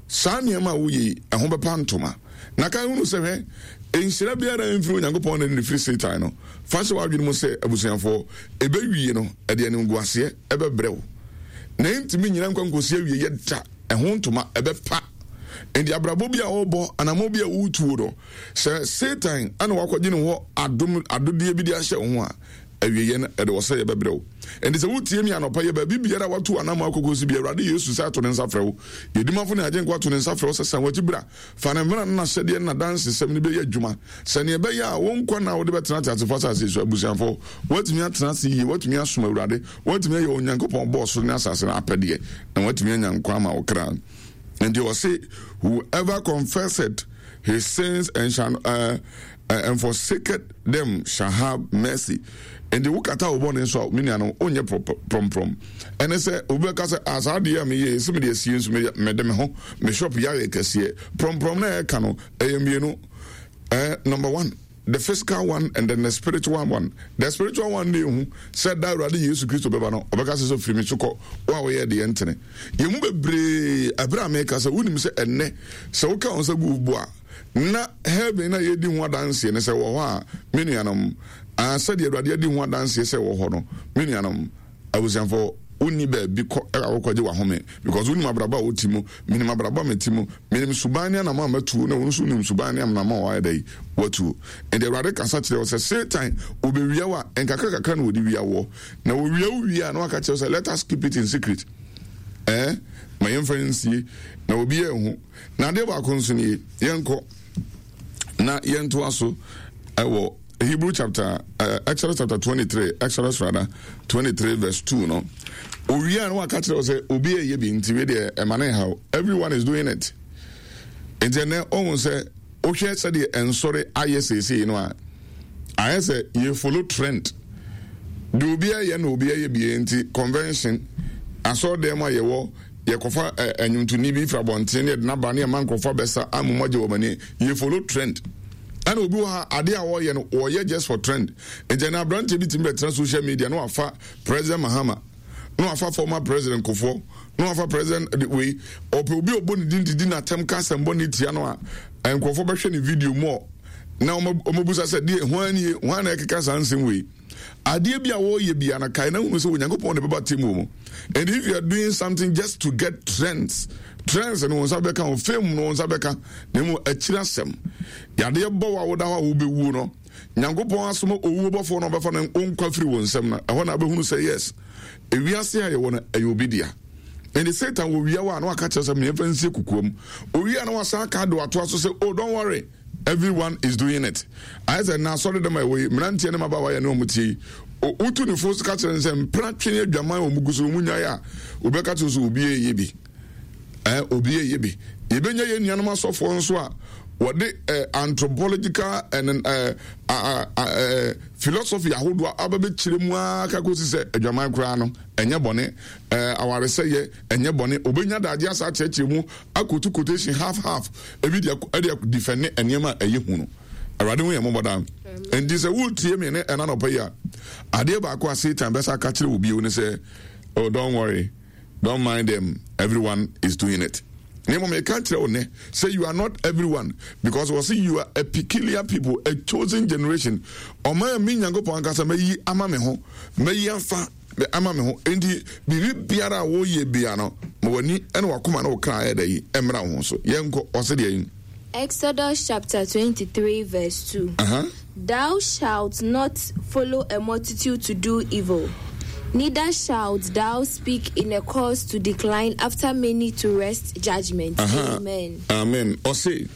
Saa nneɛma a woyɛ yi, ɛho bɛpa ntoma. Na kae hunu sɛ, hwɛ, nhyira biara mfiri Onyankopɔn na ɛfiri Satan no. Fa hyɛ w'adwene mu sɛ, abusuafoɔ, ɛbɛwie no, ɛde animguaseɛ bɛbrɛ wo. Na ɛntumi nnyina nkwa nkɔsi awieeɛ da. Ɛho ntoma, ɛbɛpa. Enti abrabɔ bi a worebɔ, anammɔn bi a woretuo no, sɛ Satan na wakɔgye ne hɔ adom, adodeɛ bi de ahyɛ wo ho a, awieeɛ no, ɛde ɔsɛeɛ bɛbrɛ wo. Enti sɛ wotie me anɔpa yi, baabi biara a woatu w'anammɔn akɔkɔsi bi, Awurade Yesu sɛ ato ne nsa frɛ wo. Yɛn Dimafo ne Agyenkwa ato ne nsa frɛ wo sɛ san w'akyi bra. Fa ne mmara ne n'ahyɛdeɛ ne n'adansesɛm no bɛyɛ adwuma sɛdeɛ ɛbɛyɛ a wo nkwa nna a wode bɛtena ateasefo asase yi so. Abusuafo, woatumi atena ase yie, woatumi asom Awurade, woatumi ayɛ Onyankopɔn a ɔbɔɔ soro ne asase no apɛdeɛ, na woatumi anya nkwa ama wo kra. Enti ɔse, Whoever confesseth his sins and shall uh, and forsaketh them shall have mercy. Enti wokata wo bɔne so a, me nua no, wonyɛ prɔmprɔm. Ɛne sɛ obi bɛka sɛ, ah, saa adeɛ a meyɛ sɛ mede asie nso mede me ho, me shop yɛ ayɛ kɛseɛ. Prɔmprɔm na ɛka no, ɛyɛ mmienu. Eh, number one, the physical one and then the spiritual one. The spiritual one ne ehu sɛ da Awurade Yesu Kristo bɛba no, ɔbɛka sɛ sɛ firi me so kɔ, wo a woyɛ deɛ ntene. Yɛn mu bebree, ɛberɛ a meka sɛ wonim sɛ ɛnnɛ sɛ woka wo nsa gu wo bo a, na heaven na yɛdi ho adanseɛ no sɛ wɔ hɔ a, me nuanom, ah, sɛdeɛ Awurade adi ho adanseɛ sɛ wɔ hɔ no, me nuanom, abusuafoɔ, wonni baabi kɔ a wokɔgye w'ahome because wonim abrabɔ a wote mu, menim abrabɔ a mete mu, menim suban ne anamɔ a matuo, na wo nso wonim suban ne anamɔ a wayɛ dɛ watuo. Nti Awurade kasa kyerɛ wo sɛ Satan obewia wo a, nkakra kakra na wɔde wia woɔ. Na wɔwia wo wie a na waka kyerɛ wo sɛ let us keep it in secret. Eh, ma yɛmfa nsie na obi anhu. Na adeɛ baako nso nie, yɛnkɔ na yɛntoa so ɛwɔ Hebrew chapter, uh, Exodus chapter 23, Exodus rather, 23 verse 2 no. Owia no waka kyerɛ wo sɛ obi ɛyɛ bi nti wei deɛ ɛma ne haw. Everyone is doing it. Nti ɛnɛ ɔhu sɛ wohwɛ sɛdeɛ ɛnsɔre ayɛ seesei no a, ayɛ sɛ yɛ follow trend. Deɛ obi ɛyɛ na obi ɛyɛ bie nti convention, asɔre dɛm a yɛwɔ yɛkɔfa ɛnwontoni bi firi abɔnten ne yɛde n'aba ne yɛma nkurɔfoɔ abɛsa ama agye wɔn ani. Yɛ follow trend. Ɛna obi wɔ ha adeɛ a wɔyɛ no wɔyɛ just for trend. Nti ɛna aberanteɛ bi tumi bɛtena social media na wafa President Mahama na wafa former President Kufuor na wafa President wei ɔpɛ obi a ɔbɔ ne din didi n'atɛm ka asɛm bɔ ne tia no a nkurɔfoɔ bɛhwɛ ne video mu ɔ na wɔbɛbusa sɛ deɛ hwan nie hwan na ɛkeka saa nsɛm wei. Adeɛ bi a wɔreyɛ bia no kae na hunu sɛ Onyankopɔn na ɛbɛba atemmuo mu. And if you are doing something just to get trends, trends no wɔn nsa bɛka ho, fame no wɔn nsa bɛka, na mmom akyiri asɛm. Yadeɛ bɔ wo a woda hɔ a wobɛwuo no, Nyankopɔn asoma owuo bɔfoɔ no ɔbɛfa no nkwa firi wo nsam no, ɛhɔ na wobɛhunu sɛ yes, ewiase a yɛwɔ no ɛyɛ obi dea. Ɛnti Satan wɔ wia wo a na waka kyerɛ sɛ mmeɛmfa nsie kokoam. Owia na wasan aka de watoa so sɛ oh don't worry. Everyone is doing it. Ayɛ sɛ na asɔre dɛm a ɛwɔ yi, mmeranteɛ ne mmabaawa yɛ ne wɔn tie yi. Wotu ne fo ka kyerɛ no sɛ mpena twe ne adwaman a wɔn gu so wɔn nyae a, wobɛka kyerɛ sɛ obi ɛyɛ bi. Ɛɛ obi ɛyɛ bi. Yɛbɛnya yɛn nuanom asɔfoɔ nso a wɔde eh, anthropological and eh, eh, eh, philosophy ahodoɔ aba bɛkyerɛ mu ara ka kɔsi sɛ adwaman koraa no ɛnyɛ bɔne, eh, awaresɛyɛ ɛnyɛ bɔne. Obɛnya daagye asa akyerɛkyerɛ mu akotu quotation half half ebi de ɛde defɛne nneɛma a ɛyɛ hu no. Awurade hu yɛn mmɔbɔ daa. Nti sɛ woretie me ne ɛna nɔpɛ yi a, adeɛ baako a Satan bɛsa aka kyerɛ wo bio ne sɛ, oh don't worry, don't mind them, everyone is doing it. Na mmom meka kyerɛ wo nnɛ sɛ you are not everyone because wɔ se you are a peculiar people, a chosen generation. Ɔman a me Nyankopɔn ankasa mayi ama me ho, mayi afa ama me ho. Enti biribi biara a woyɛ bia no, ma w'ani ne w'akoma ne wo kra ayɛ dɛ yi mmra wo ho so. Yɛnkɔ, ɔse deɛ yi. Exodus chapter 23 verse 2. Uh-huh. Thou shalt not follow a multitude to do evil, neither shalt thou speak in a cause to decline after many to wrest judgment. Uh-huh. Amen. Amen. Ɔse,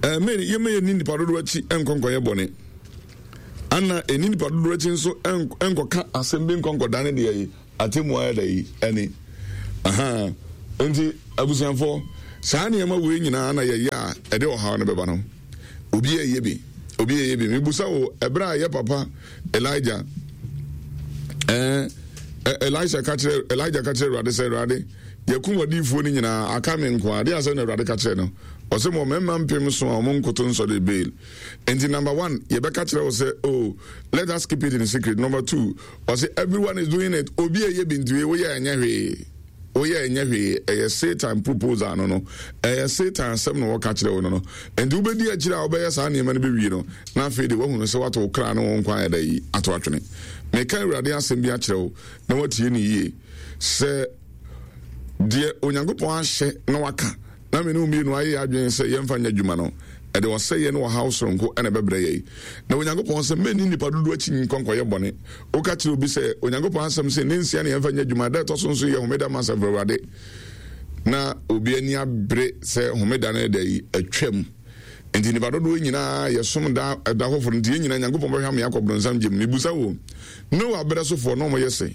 Amen. Yɛmɛ yɛ ni nipa dodoɔ akyi nkɔnkɔnyɛ bɔne. Ana ɛni nipa dodoɔ akyi nso nkɔka asɛm bi nkɔnkɔdane deɛ yi atemmu ayɛ dɛ yi ɛne. Aha. Nti abusuafoɔ, saa nneɛma wei nyinaa na yɛyɛ a ɛde ɔhaw no bɛba no. Obi ɛyɛ bi, obi ɛyɛ bi. Mebusa wo, ɛberɛ a yɛ papa Elijah, ɛɛ, Elisha ka kyerɛ, Elijah ka kyerɛ Awurade sɛ, Awurade, yɛkum adiyifoɔ no nyinaa, aka me nko a. Adeɛ asɛm na Awurade ka kyerɛ no. Ɔsɛ mɔ mmarima mpem so a wɔn nkoto nsɔre Baal. Nti number one, yɛbɛka kyerɛ wo sɛ, oh, let us keep it in secret. Number two, ɔsɛ everyone is doing it. Obi ɛyɛ bi nti woyɛ ɛnyɛ hwee. Woyɛ ɛnyɛ hwee. Ɛyɛ Satan proposal no no. Ɛyɛ Satan asɛm na wɔka kyerɛ wo no no. Nti wobɛdi akyire a wobɛyɛ saa nneɛma no bɛwie no, na afei de woahunu sɛ woato wo kra ne wo nkwa ayɛ dɛ yi ato atwene. Meka Awurade asɛm bi akyerɛ wo na woatie no yie. Sɛ deɛ Onyankopɔn ahyɛ na waka na me ne wo mmienu ayɛ yɛn adwene sɛ yɛmfa nyɛ adwuma no, ɛde ɔsɛeɛ ne ɔhaw soronko na ɛbɛbrɛ yɛn. Na Onyankopɔn sɛ, Mɛnni nnipa dodoɔ akyi nkɔ nkɔyɛ bɔne. Woka kyerɛ obi sɛ, Onyankopɔn asɛm se, ne nsia na yɛmfa nyɛ adwuma, da ɛtɔ so nso yɛ homeda ma asafo Awurade. Na obi ani abere sɛ homeda no da yi atwam. Nti nnipa dodoɔ nyinaa yɛsom da ɛda foforɔ nti yɛn nyinaa Nyankopɔn bɛhwɛ ama yɛakɔ bronsam gyem. Mebusa wo, Noa berɛ sofoɔ na wɔyɛ sɛn?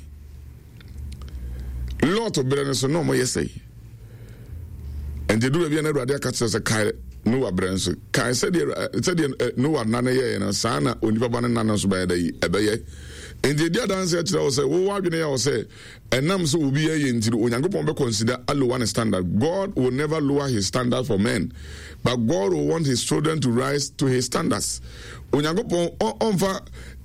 Lot berɛ no so na wɔyɛ sɛe. Nti duru baabi a na Awurade aka kyerɛ sɛ kae Noa berɛ nso. Kae sɛdeɛ sɛdeɛ Noa nna no yɛeɛ no saa na onipa ba no nna no nso bɛyɛ dɛ yi ɛbɛyɛ. Nti ɛdi adanseɛ kyerɛ wo sɛ wowɔ adwene yɛ wo sɛ ɛnam sɛ obi yɛ nti no Onyankopɔn bɛ consider alower ne standard. God will never lower his standard for men but God will want his children to rise to his standards. Onyankopɔn ɔmfa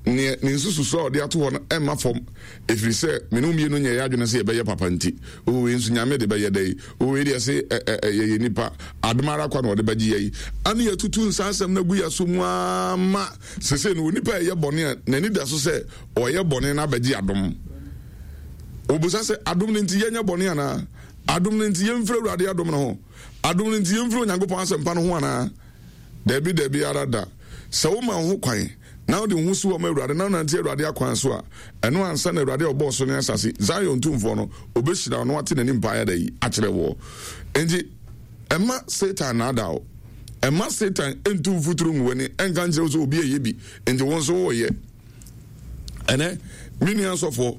neɛ ne nsususoɔ a ɔde ato hɔ no ɛmma fam. Ɛfiri sɛ me ne wo mmienu nyɛɛ yɛn adwene sɛ yɛbɛyɛ papa nti. O wei nso Nyame de bɛyɛ dɛn? O wei deɛ se ɛ ɛ ɛ yɛyɛ nnipa, adom ara kwa na ɔde bɛgye yɛn. Ane yɛatutu nsa asɛm no agu yɛn so mu ara ma sesei no onipa a ɛyɛ bɔne a n'ani da so sɛ ɔyɛ bɔne no abɛgye adom. Wɔbusa sɛ, Adom no nti yɛnyɛ bɔne anaa? Adom no nti yɛmfiri Awurade adom no ho? Adom no nti yɛmfiri Onyankopɔn asɛmpa no ho anaa? Dabi, dabi ara da. Sɛ woma wo ho kwan na wode wo ho si hɔ ma Awurade na wonante Awurade akwan so a, ɛno ansa na Awurade a ɔbɔɔ soro ne asase, Zion Tumfoɔ no, obehyira wo na wate n'anim paa da yi akyerɛ woɔ. Enti, mma Satan nnaadaa wo. Mma Satan ntu mfuturo ngu w'ani nka nkyerɛ wo sɛ obi ɛyɛ bi, enti wo nso woreyɛ. Ɛnɛ, me nua sɔfoɔ,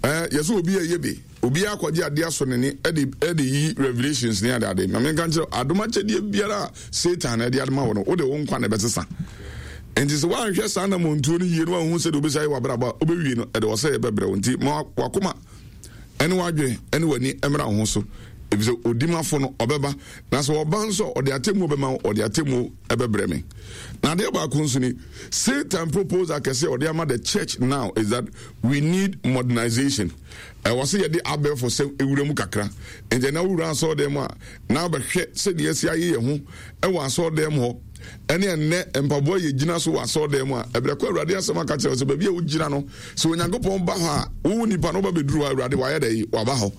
eh, yɛsɛ obi ɛyɛ bi. Obiara akɔgye adeɛ asɔ n'ani de de yi revelations ne adeade. Ma menka nkyerɛ adom akyɛdeɛ biara a Satan na ɛde adoma wɔ no, wode wo nkwa na ɛbɛsesa. Nti sɛ woanhwɛ saa namontuo no yie na woanhu sɛdeɛ wobɛsi ayɛ w'abrabɔ a, wobɛwie no, ɛde ɔsɛeɛ bɛbrɛ wo. Nti ma w'akoma ne w'adwene ne w'ani mmra wo ho so, efisɛ odimafo no ɔbɛba, na sɛ ɔba nso a, ɔde atemmuo bɛma wo, ɔde atemmuo ɛbɛbrɛ me. Na adeɛ baako nso ni, Satan proposal kɛse a ɔde ama the church now is that we need modernization. Ɛwɔ sɛ yɛde abɛɛfo sɛm wura mu kakra. Enti ɛnɛ wowura asɔredan mu a, na wobɛhwɛ sɛdeɛ yɛasi ayɛ yɛn ho wɔ asɔredan mu hɔ, ɛne ɛnnɛ mpaboa a yɛgyina so wɔ asɔredan mu a, ɛberɛ kɔ Awurade asɛm aka kyerɛ wo sɛ baabi a wogyina no, sɛ Onyankopɔn ba hɔ a, wo nipa no woba bɛduru hɔ a, Awurade wayɛ dɛ waba hɔ.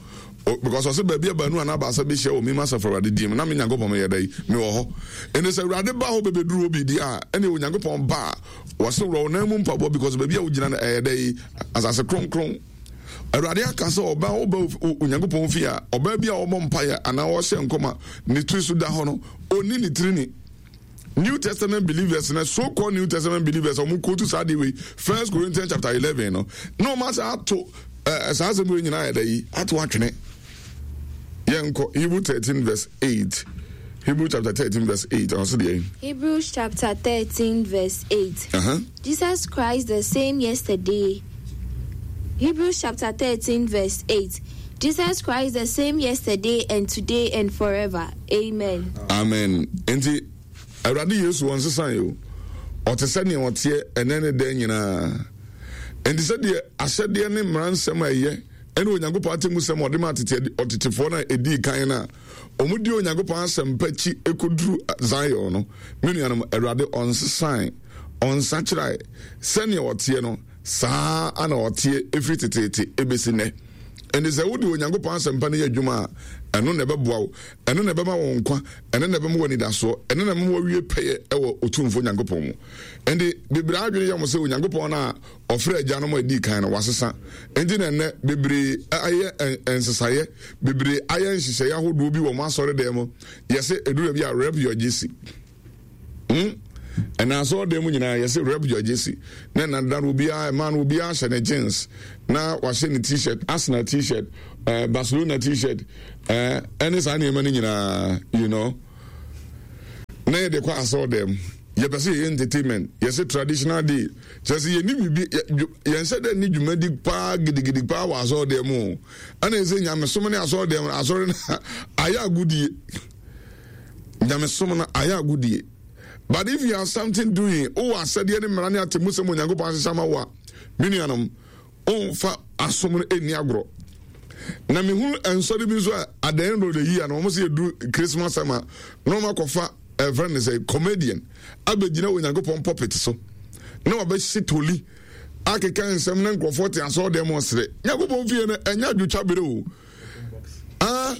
Because ɔsɛ baabi a baanu anaa baasa bɛhyia wɔ me asafo Awurade din mu, na me Nyankopɔn meyɛ dɛ mewɔ hɔ. Ɛnti sɛ Awurade ba hɔ bɛbɛduru hɔ bi deɛ a, ɛne Onyankopɔn ba a, wɔse worɔ wo nan mu mpaboa because baabi a wogyina no ɛyɛ dɛ asase kronkron. Awurade aka sɛ ɔbaa woba Onyankopɔn fie a, ɔbaa bi a ɔbɔ mpaeɛ anaa ɔhyɛ nkɔm a ne tiri so da hɔ no, ɔnni ne tiri ni. New Testament believers na so called New Testament believers ɔmo kootu saa adeɛ wei First Corinthians chapter 11 no na ɔmo asa ato ɛɛ saa asɛm wei nyinaa yɛ dɛ yi ato atwene. Yɛnkɔ Hebrew 13 verse 8. Hebrew chapter 13 verse 8. Ɔsɛ deɛ. Hebrews chapter 13 verse 8. Jesus Christ the same yesterday. Hebrews chapter 13 verse 8. Jesus Christ the same yesterday and today and forever. Amen. Amen. Enti Awurade Yesu wɔn sesa yi o. Ɔte sɛ nea ɔteɛ ɛnɛ ne dɛn nyinaa. Enti sɛdeɛ ahyɛdeɛ ne mmara nsɛm a ɛyɛ ɛne Onyankopɔn atemmusɛm a ɔde maa tete ɔtetefoɔ no a ɛdii kan no a wɔdi Onyankopɔn asɛmpa akyi kɔduru Zion no, me nuanom, Awurade ɔnsesae, ɔnsakyerae, sɛnea ɔteɛ no, saa ara na ɔteɛ ɛfiri teteete ɛbɛsi nnɛ. Ɛnti sɛ wode Onyankopɔn asɛmpa no yɛ adwuma a, ɛno na ɛbɛboa wo, ɛno na ɛbɛma wo nkwa, ɛno na ɛbɛma wo anidasoɔ, ɛno na ɛbɛma woawie pɛyɛ wɔ Otumfoɔ Nyankopɔn mu. Ɛnti bebree adwene yɛ wɔn sɛ Onyankopɔn no a ɔfrɛ agyanom a ɛdii kan no, wasesa. Enti na ɛnnɛ bebree ayɛ nsesaeɛ, bebree ayɛ nhyehyɛeɛ ahodoɔ bi wɔ wɔn asɔredan mu. Yɛsɛ ɛduru baabi a rep your GC. Hmm? Ɛna asɔɔdan mu nyinaa yɛsɛ rep your jersey. Na ɛna da no obiara ɛmaa no obiara hyɛ ne jeans na wahyɛ ne t-shirt, Arsenal t-shirt, eh, Barcelona t-shirt, eh, ɛne saa nneɛma no nyinaa, you know. Na yɛde kɔ asɔɔdan mu. Yɛpɛ sɛ yɛyɛ entertainment, yɛsɛ traditional day. Kyerɛ sɛ yɛni biribi, yɛnhyɛ dɛ ne dwumadi paa gidigidi paa wɔ asɔɔdan mu o. Ɛna yɛsɛ nyamesom ne asɔɔdan mu, asɔre no ayɛ agodie. Nyamesom no ayɛ agodie. But if you have something doing, wowɔ asɛdeɛ ne mmara ne atemmusɛm Onyankopɔn ahyehyɛ ama wo a, me nuanom, womfa asom no ɛnni agorɔ. Na mehunu nsɔre bi nso a at the end of the year no wɔn sɛ yɛduru Christmas time a na wɔn akɔfa ɛfrɛ no sɛ comedian abɛgyina Onyankopɔn pulpit so na wabɛhye toli akeka nsɛm na nkurɔfoɔ te asɔre dɛm ɔsere. Nyankopɔn fie no ɛnyɛ adwotwa bere o. Ah,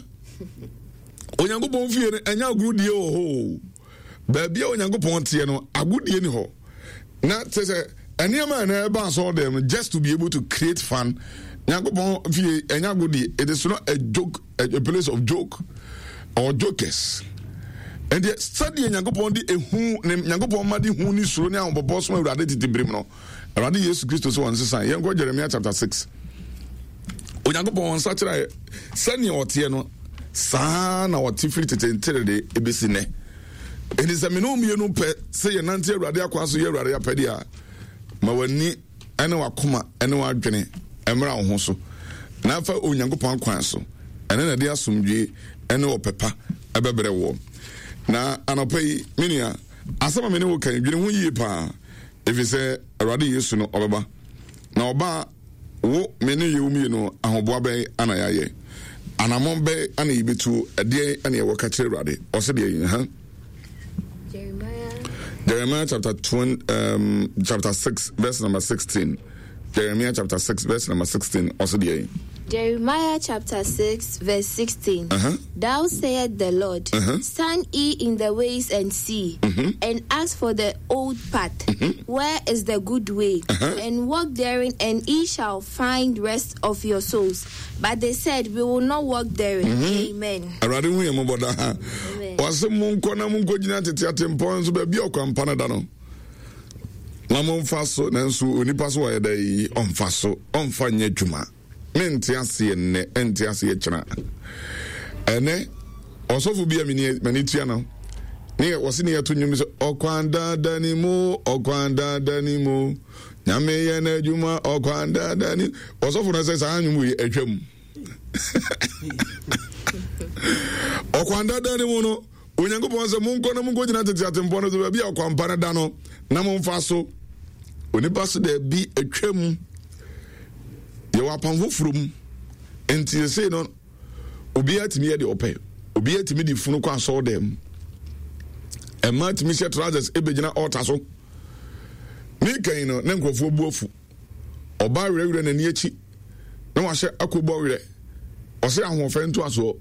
Onyankopɔn fie no ɛnyɛ agorɔdie wɔ hɔ o. Baabi a Onyankopɔn teɛ no agodie ni hɔ. Na kyerɛ sɛ nneɛma a ɛna ɛba asɔre dɛm no just to be able to create fun. Nyankopɔn fie ɛnyɛ agodie. It is not a joke, a place of joke or jokers. Ɛnti sɛdeɛ Nyankopɔn de ehu ne Nyankopɔn ma de hu ne suro ne ahopopoɔ som Awurade tete birim no, Awurade Yesu Kristo sɛ wɔnsesa. Yɛnkɔ Jeremiah chapter 6. Onyankopɔn wɔn nsakyeraɛ sɛnea ɔteɛ no saa na ɔte firi tete nterede ebesi nnɛ. Enti sɛ me ne wo mmienu pɛ sɛ yɛnante Awurade akwan so yɛ Awurade apɛdeɛ a, ma w'ani ne w'akoma ne w'adwene mmra wo ho so na fa Onyankopɔn akwan so. Ɛno na ɛde asomdwie ne ɔpɛ pa ɛbɛbrɛ woɔ. Na anɔpa yi, me nua, asɛm a me ne wo ka yi, dwene ho yie paa, ɛfiri sɛ Awurade Yesu no ɔbɛba. Na ɔba a, Wo, me ne yɛn mmienu, ahoboa bɛn ana yɛayɛ? Anammɔn bɛn ana yɛbɛtuo? Ɛdeɛn ana yɛwɔ ka kyerɛ Awurade? Ɔse deɛ yi, ha? Jeremiah. Jeremiah chapter 20, chapter 6, verse number 16. Jeremiah chapter 6, verse number 16. Ɔse deɛ yi. Jeremiah chapter 6, verse 16. Thou sayest the Lord, Stand ye in the ways and see, and ask for the old path, where is the good way, and walk therein, and ye shall find rest of your souls. But they said, We will not walk therein. Amen. Awurade hu yɛn mmɔbɔ daa. Ɔse monkɔ na monkɔgyina tete atempɔn nso baabi a ɔkwampa no da no na momfa so, nanso onipa so ɔyɛ dɛ yi ɔmfa so, ɔmfa nyɛ adwuma. Mente aseɛ nnɛ, ɛnte aseɛ kyena. Ɛnɛ ɔsɔfo bi a m'ani tua no ne yɛ wɔse ne yɛto nnwom sɛ ɔkwan dada ni mu, ɔkwan dada ni mu, nyame yɛ n'adwuma ɔkwan dada ni. Ɔsɔfo no sɛ saa nnwom wei atwam. Ɔkwan dada ni mu no, Onyankopɔn sɛ monkɔ na monkɔgyina tete atempɔn no so baabi a ɔkwampa no da no na momfa so. Onipa so daabi atwam. Yɛwɔ apam foforɔ mu. Nti sesei no obiara tumi yɛ deɛ ɔpɛ. Obiara tumi de funu kɔ asɔre dɛm. Mmaa tumi hyɛ trousers ɛbɛgyina altar so. Meka yi no na nkurɔfoɔ bu afu. Ɔbaa werɛwerɛ n'ani akyi na wahyɛ akobɔ werɛ. Ɔsɛ ahoɔfɛ ntoasoɔ.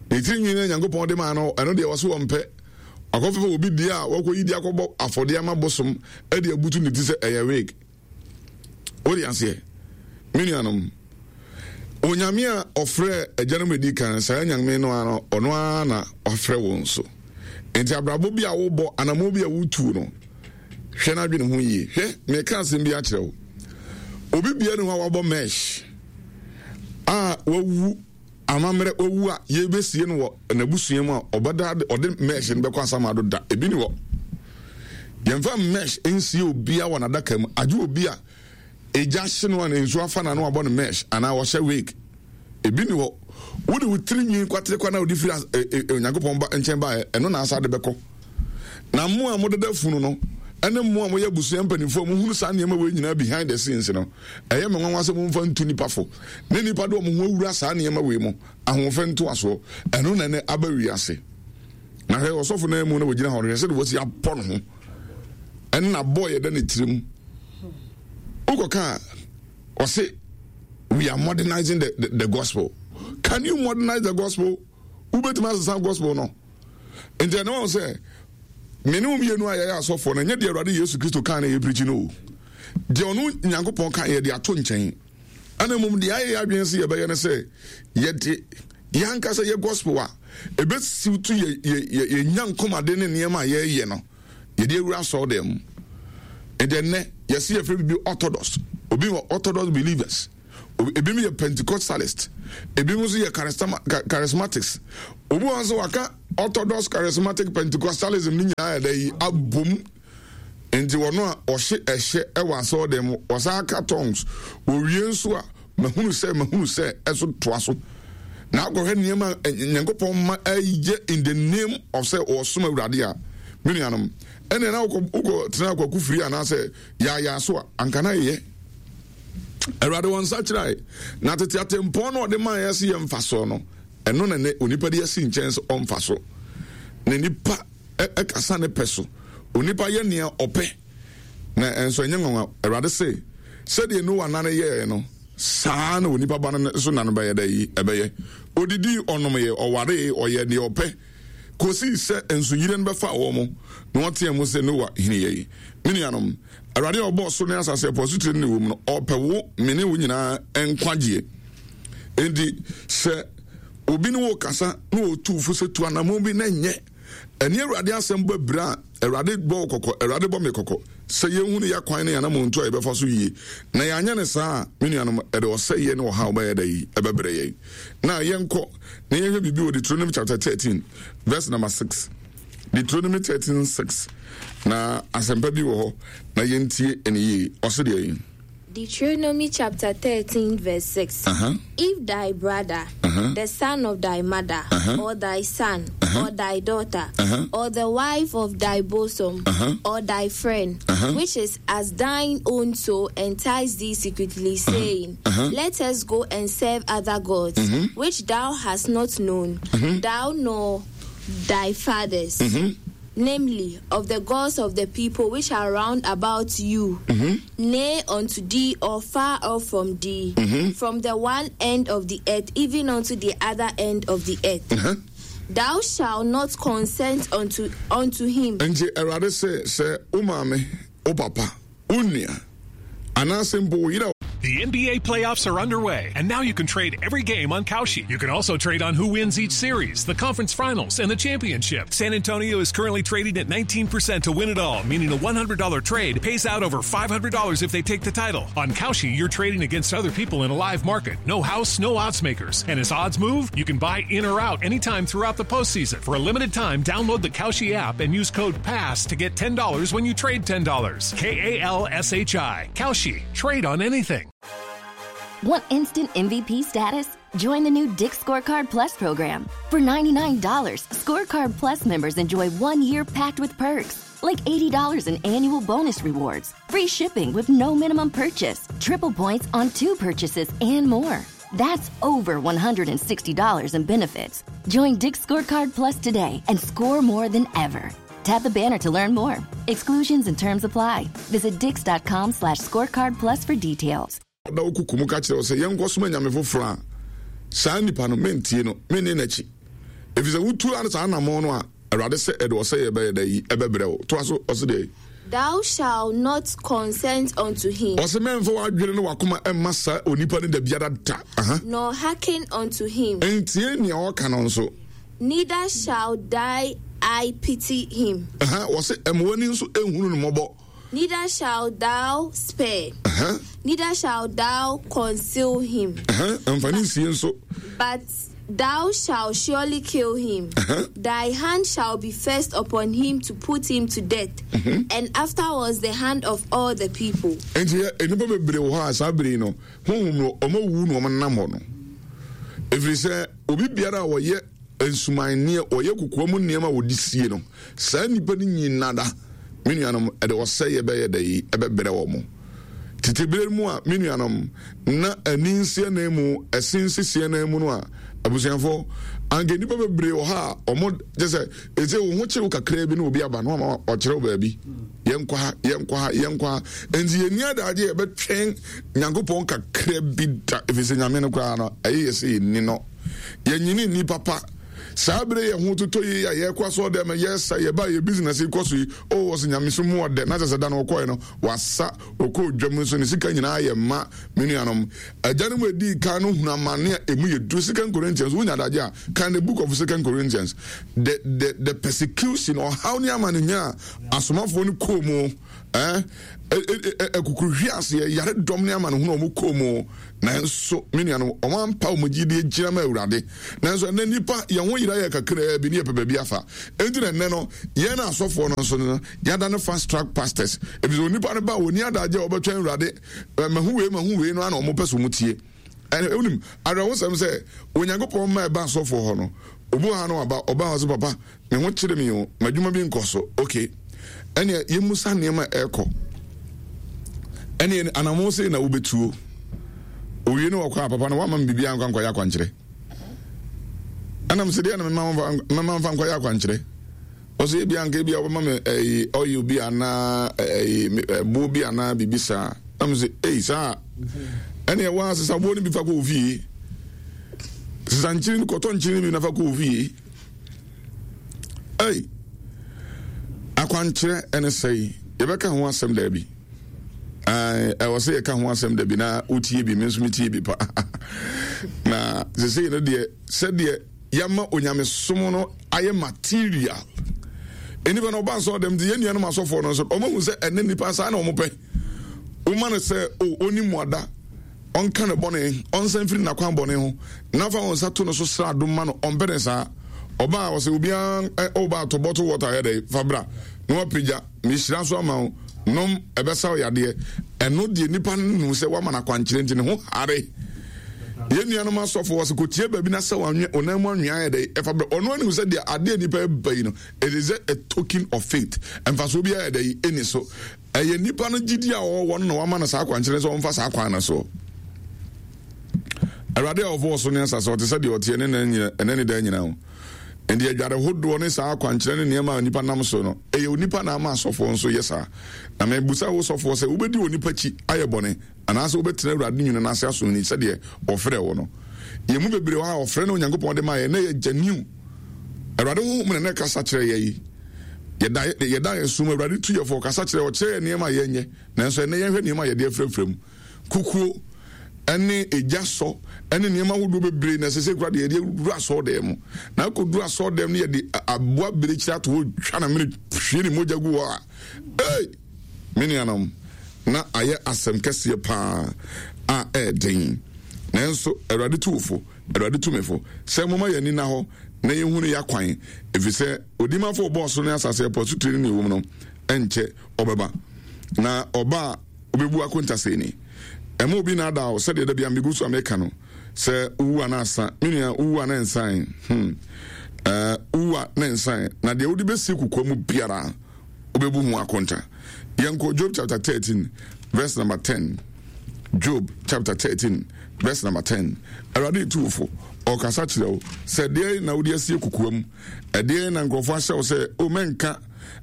Ne tiri nwi no Nyankopɔn de maa no ɛno deɛ ɔse wɔmpɛ. Wakɔfefa obi deɛ a wakɔyi de akɔbɔ afɔdeɛ ama bosom de abutu ne ti sɛ ɛyɛ wig. Wode aseɛ? Me nuanom, Onyame a ɔfrɛ agyanom edi kan, saa Nyame no ara ɔno ara na wafrɛ wo nso. Enti abrabɔ bi a wobɔ, anammɔn bi a wotu no, hwɛ na adwene ho yie. Hwɛ, meka asɛm bi akyerɛ wo. Obi bia ne hɔ a wabɔ mesh a wawu amammerɛ wawu a yɛbɛsie no wɔ n'abusua mu a ɔbɛda ɔde mesh no bɛkɔ asamado da. Ebi ni hɔ. Yɛmfa mesh nsie obia wɔ n'adaka mu, agye obi a egya hye no a na nsuo afa n'ano abɔ no mesh anaa ɔhyɛ wig. Ebi ni hɔ. Wode wo tiri nwi kwaterekwa na wode firi Onyankopɔn ba nkyɛn baeɛ, ɛno na asa de bɛkɔ. Na mo a modeda funu no, ɛne mo a moyɛ abusua mpanimfoɔ a mohunu saa nneɛma wei nyinaa behind the scenes no, ɛyɛ me nwanwa sɛ momfa ntu nnipa fo, ne nnipa de wɔn ho awura saa nneɛma wei mu, ahoɔfɛ ntoasoɔ. Ɛno na ɛnɛ aba wiase. Na hwɛ ɔsɔfo no mu na wɔgyina hɔ no, hwɛ sɛdeɛ wɔasi abɔ ne ho, ɛne n'abɔ yɛ da ne tirim. Wokɔka a, ɔse we are modernizing the, the, the gospel. Can you modernize the gospel? Wobɛtumi asesa gospel no? Nti ɛne wɔn sɛ me ne wo mmienu a yɛyɛ asɔfoɔ no, ɛnyɛ deɛ Awurade Yesu Kristo kaa na yɛpirikyi no o. Deɛ ɔno Nyankopɔn ka yɛde ato nkyɛn. Ɛna mmom deɛ ayɛ yɛ adwene sɛ yɛbɛyɛ no sɛ yɛde yɛn ankasa yɛ gospel a ɛbɛsiw to yɛ yɛ yɛ yɛnya nkɔmade ne nneɛma a yɛreyɛ no. yɛde awura asɔre dɛm mu. Nti ɛnnɛ yɛse yɛfrɛ biribi Orthodox. Obi wɔ Orthodox believers. Ebinom yɛ Pentecostalist. Ebinom nso yɛ charismatics. Obi wɔ nso waka Orthodox, charismatic, Pentecostalism ne nyinaa yɛ dɛ yi abom. Nti wɔn a ɔhye ɛhyɛ ɛwɔ asɔre dɛm mu, wɔsan aka tongues. Wɔwie nso a mahunu sɛ mahunu sɛ ɛso toa so. Na akɔhwɛ nneɛma a Nyankopɔn ma ɛyɛ in the name of sɛ ɔsom Awurade a, me nuanom, ɛnna na wokɔ wokɔ tena akwaku firi anaasɛ yaayaa so a, anka na yɛyɛ. Awurade wɔn nsa kyerɛe, na tete atempɔn no ɔde maa yɛ sɛ yɛmfa so no, ɛno na nɛ onipa de asi nkyɛn sɛ ɔmfa so. Na nipa ɛkasa ne pɛ so. Onipa yɛ nea ɔpɛ. Na ɛnso ɛnyɛ nwanwa, Awurade se, sɛdeɛ Noa nna no yɛeɛ no, saa ara na onipa ba no nso nna no bɛyɛ dɛ yi, ɛbɛyɛ. Ɔdidii, ɔnomeeɛ, ɔwaree, ɔyɛɛ deɛ ɔpɛ, kɔsii sɛ nsuyire no bɛfaa wɔn, na wɔteaa mu sɛ, Noa, hini yɛn. Me nuanom, Awurade a ɔbɔɔ soro ne asase, ɛpo asutire ne nea ɛwɔ mu no, ɔpɛ wo, me ne wo nyinaa nkwagyeɛ. Enti, sɛ obi ne wo kasa na ɔtu wo fo sɛ tu anammɔn bi na ɛnyɛ Ɛne Awurade asɛm bɔ abira a, Awurade bɔ wo kɔkɔ, Awurade bɔ me kɔkɔ, sɛ yɛnhunu yɛn akwan ne yɛn anammɔntu a yɛbɛfa so yie. Na yɛanyɛ no saa a, me nuanom, ɛde ɔsɛeɛ ne ɔhaw bɛyɛ dɛ yi ɛbɛbrɛ yɛn. Na yɛnkɔ na yɛnhwɛ biribi wɔ Deuteronomy chapter 13 verse number 6. Deuteronomy 13 6. Na asɛmpa bi wɔ hɔ na yɛntie ɛne yie. Ɔse deɛ yi. Deuteronomy chapter 13, verse 6. Uh-huh. If thy brother, uh-huh. the son of thy mother, uh-huh. or thy son, uh-huh. or thy daughter, uh-huh. or the wife of thy bosom, uh-huh. or thy friend, which is as thine own soul, entice thee secretly, saying, Let us go and serve other gods, mm-hmm. which thou hast not known, mm-hmm. thou nor thy fathers. Mm-hmm namely, of the gods of the people which are round about you, mm-hmm. nay unto thee or far off from thee, mm-hmm. from the one end of the earth even unto the other end of the earth. Mm-hmm. Thou shalt not consent unto unto him. Nti Awurade sɛ sɛ wo maame, wo papa, wo nua, anaasɛ mpo wo yere a The NBA playoffs are underway, and now you can trade every game on Kalshi. You can also trade on who wins each series, the conference finals, and the championship. San Antonio is currently trading at 19% to win it all, meaning a $100 trade pays out over $500 if they take the title. On Kalshi, you're trading against other people in a live market. No house, no odds makers. And as odds move, you can buy in or out anytime throughout the postseason. For a limited time, download the Kalshi app and use code PASS to get $10 when you trade $10. K A L S H I. Kalshi. Trade on anything. Want instant MVP status? Join the new Dick's Scorecard Plus program. For $99, Scorecard Plus members enjoy one year packed with perks, like $80 in annual bonus rewards, free shipping with no minimum purchase, triple points on two purchases, and more. That's over $160 in benefits. Join Dick's Scorecard Plus today and score more than ever. Tap the banner to learn more. Exclusions and terms apply. Visit dix.com slash scorecard plus for details. da wo kuku mu ka kyerɛ wo sɛ yɛnkɔsom anyame foforɔ a saa nipa no mentie no menni n'akyi ɛfiri sɛ wotu ano saa anammɔn no a awurade sɛ ɛde ɔsɛ yɛ bɛyɛ dɛ yi ɛbɛbrɛ wo toa so ɔse deɛ Thou shalt not consent unto him. Ɔse mɛmfa w'adwene ne w'akoma mma saa onipa no da biara da. Aha. Nor hearken unto him. Ntie nea ɔka no nso. Neither shall thy eye pity him. Aha, ɔse ɛma w'ani nso nhunu no mmɔbɔ. Neither shall thou spare. Aha. Neither shall thou conceal him. Aha, mfa ne nsie nso. But thou shalt surely kill him. Thy hand shall be first upon him to put him to death, mm-hmm. and afterwards the hand of all the people. Nti nnipa bebree wɔ hɔ a saa bere yi no honhom no wɔn awuwu na wɔn nam hɔ no ɛfiri sɛ obi biara a wɔyɛ nsumanneɛ wɔyɛ kokoa mu nneɛma a wɔde sie no saa nnipa no nyina da me nuanom ɛde ɔsɛeɛ bɛyɛ dɛ yi ɛbɛbrɛ wɔn Tete bere mu a me nuanom na ani nsi ananmu, ɛse nsisi ananmu no a, abusuafo, anka nnipa bebree wɔ ha a wɔn kyɛ sɛ ɛsɛ wo ho kyew kakraa bi na obi aba na wama ɔkyerɛw baabi. Yɛnkɔ ha, yɛnkɔ ha, yɛnkɔ ha. Enti yɛnni adagye a yɛbɛtwɛn Nyankopɔn kakra bi da, ɛfiri sɛ Nyame no koraa no, ɛyɛ yɛ sɛ yɛnni no. Yɛnyini nni papa. Saa bere yɛ ho totɔ yi a yɛkɔ asɔre dɛm yɛsa yɛba yɛ business yi kɔ so yi, oh ɔsɛ nyamesom mu ɔdɛ na kyerɛ sɛ da no ɔkɔɛ no wasa ɔkɔ dwam nso ne sika nyinaa yɛ mma. Me nuanom, agyanom a edii kan no hunu amane a emu yɛ duru. Second Corinthians, wonya adagye a, kan the book of Second Corinthians. The, the, the persecution, ɔhaw ne amanehunu a asomafoɔ no kɔɔ mu, eh, akukuruhwe aseɛ, yare dɔm ne amanehunu a wɔn kɔɔ mu. Nanso, me nuanom, wɔn ampa wɔn gyidie gyina ma Awurade. Nanso ɛnɛ nnipa, yɛn ho yera yɛ kakraa bi ne yɛpɛ baabi afa. Enti na ɛnɛ no, yɛn asɔfoɔ no nso no, yɛada no fast track pastors. Efisɛ onipa no ba a, wɔnni adagye a wɔbɛtwɛn Awurade mahu wei mahu wei no ana wɔn pɛ sɛ wɔn tie. Ɛna wonim awerɛhosɛm sɛ Onyankopɔn mma ɛba asɔfoɔ hɔ no, obi wɔ ha no aba ɔba hɔ sɛ papa me ho kyere me o, m'adwuma bi nkɔ so. Okay, ɛnea yɛmmusa nneɛma a ɛrekɔ. Ɛnea anammɔn sei na wobɛtuo. Owie no wɔkɔ a papa no wama me biribiara nkwa nkɔyɛ akwankyerɛ. Ɛnam sɛ deɛ na mema mfa nkɔyɛ akwankyerɛ. Ɔsɛ ebia anka ebia wobɛma me ɛyi oil bi anaa ɛyi ɛboɔ bi anaa biribi saa. Na mo sɛ ei saa ɛne ɛwɔ a sesa boɔ no bi fa kɔ ofie. Sesa nkyiri no kɔtɔ nkyiri no bi na fa kɔ ofie. Ei akwankyerɛ ɛne sɛe yɛbɛka ho asɛm daabi. Ɛwɔ sɛ yɛka ho asɛm dabi na wotie bi me nso metie bi pa. Na sesei no deɛ sɛdeɛ yɛama onyamesom no ayɛ material. Nnipa no ɔba asɔre dɛm nti yɛn nuanom asɔfoɔ no nso wɔn ahu sɛ ɛnɛ nnipa saa na wɔn pɛ. Woma no sɛ o ɔni mmuada, ɔnka ne bɔne, ɔnsan mfiri n'akwan bɔne ho, na fa wɔn nsa to no so sra adom ma no, ɔmpɛ ne saa. Ɔbaa ɔsɛ obiara ɔba atɔ bottle water yɛ dɛ fa bra na wapagya. Mehyira so ama wo, nom, ɛbɛsa wo yadeɛ. Ɛno deɛ nipa no nim sɛ woama no akwankyerɛ nti ne ho hare. Yɛn nuanom asɔfo wɔ sɛ kɔtie baabi na sɛ wɔn mu anwea ayɛ dɛ ɛfa brɛ. Ɔno anim sɛ deɛ adeɛ nipa ɛba yi no, it is a token of faith. Mfasoɔ bi ayɛ dɛ yi ɛni so. Ɛyɛ nipa no gyidi a ɔwɔ no na wama no saa akwankyerɛ sɛ ɔmfa saa kwan no so. Awurade a ɔbɔɔ so ne asase ɔte sɛ deɛ ɔteɛ ne ɛnɛ ne daa nyinaa o. Enti adware hodoɔ ne saa akwankyerɛ ne nneɛma a onipa nam so no, ɛyɛ onipa na ama asɔfoɔ nso yɛ saa. Na mebisa wo sɔfoɔ sɛ, wobɛdi onipa akyi ayɛ bɔne, anaasɛ wobɛtena Awurade nwunu no ase asom no sɛdeɛ ɔfrɛɛ wo no? Yɛn mu bebree wɔ ha a ɔfrɛ no Onyankopɔn de maa yɛn na ɛyɛ genuine. Awurade honhom na na ɛkasa kyerɛ yɛn yi. Yɛda yɛda yɛn som Awurade tu yɛn fo, ɔkasa kyerɛ, ɔkyerɛ yɛn nneɛma a yɛnyɛ. Nanso ɛnnɛ yɛnhwɛ nneɛma a yɛde afirafira mu. Kukuo ne egya sɔ ne nneɛma ahodoɔ bebree na ɛsɛ sɛ kura deɛ yɛde awura asɔɔdan mu. Na akɔduru asɔɔdan mu no yɛde aboa birekyiri ato hɔ twa na mene hwie ne mogya gu hɔ a, ei, me nuanom, na ayɛ asɛm kɛseɛ paa a ɛɛden. Nanso Awurade tu wo fo, Awurade tu me fo sɛ momma yɛn ani nna hɔ na yɛnhunu yɛn akwan, ɛfiri sɛ Odimafo a ɔbɔɔ soro ne asase, ɛpo, asutire ne nea ɛwɔ mu no, ɛnkyɛ ɔbɛba. Na ɔba a, Wobɛbu akonta sɛɛ ni. Ɛmma obi nnaadaa wo sɛdeɛ da biara megu so a meka no sɛ wowu a na asa. Me nua, wowu a na ɛnsan. Hmm. Eh, wowu a na ɛnsan. Na deɛ wode bɛsie kokoa mu biara, wobɛbu ho akonta. Yɛnkɔ Job chapter 13 verse number 10. Job chapter 13 verse number 10. Awurade retu wo fo. Ɔkasa kyerɛ wo sɛ deɛ na wode asie kokoa mu. Ɛdeɛ na nkurɔfoɔ ahyɛ wo sɛ, o mɛnka.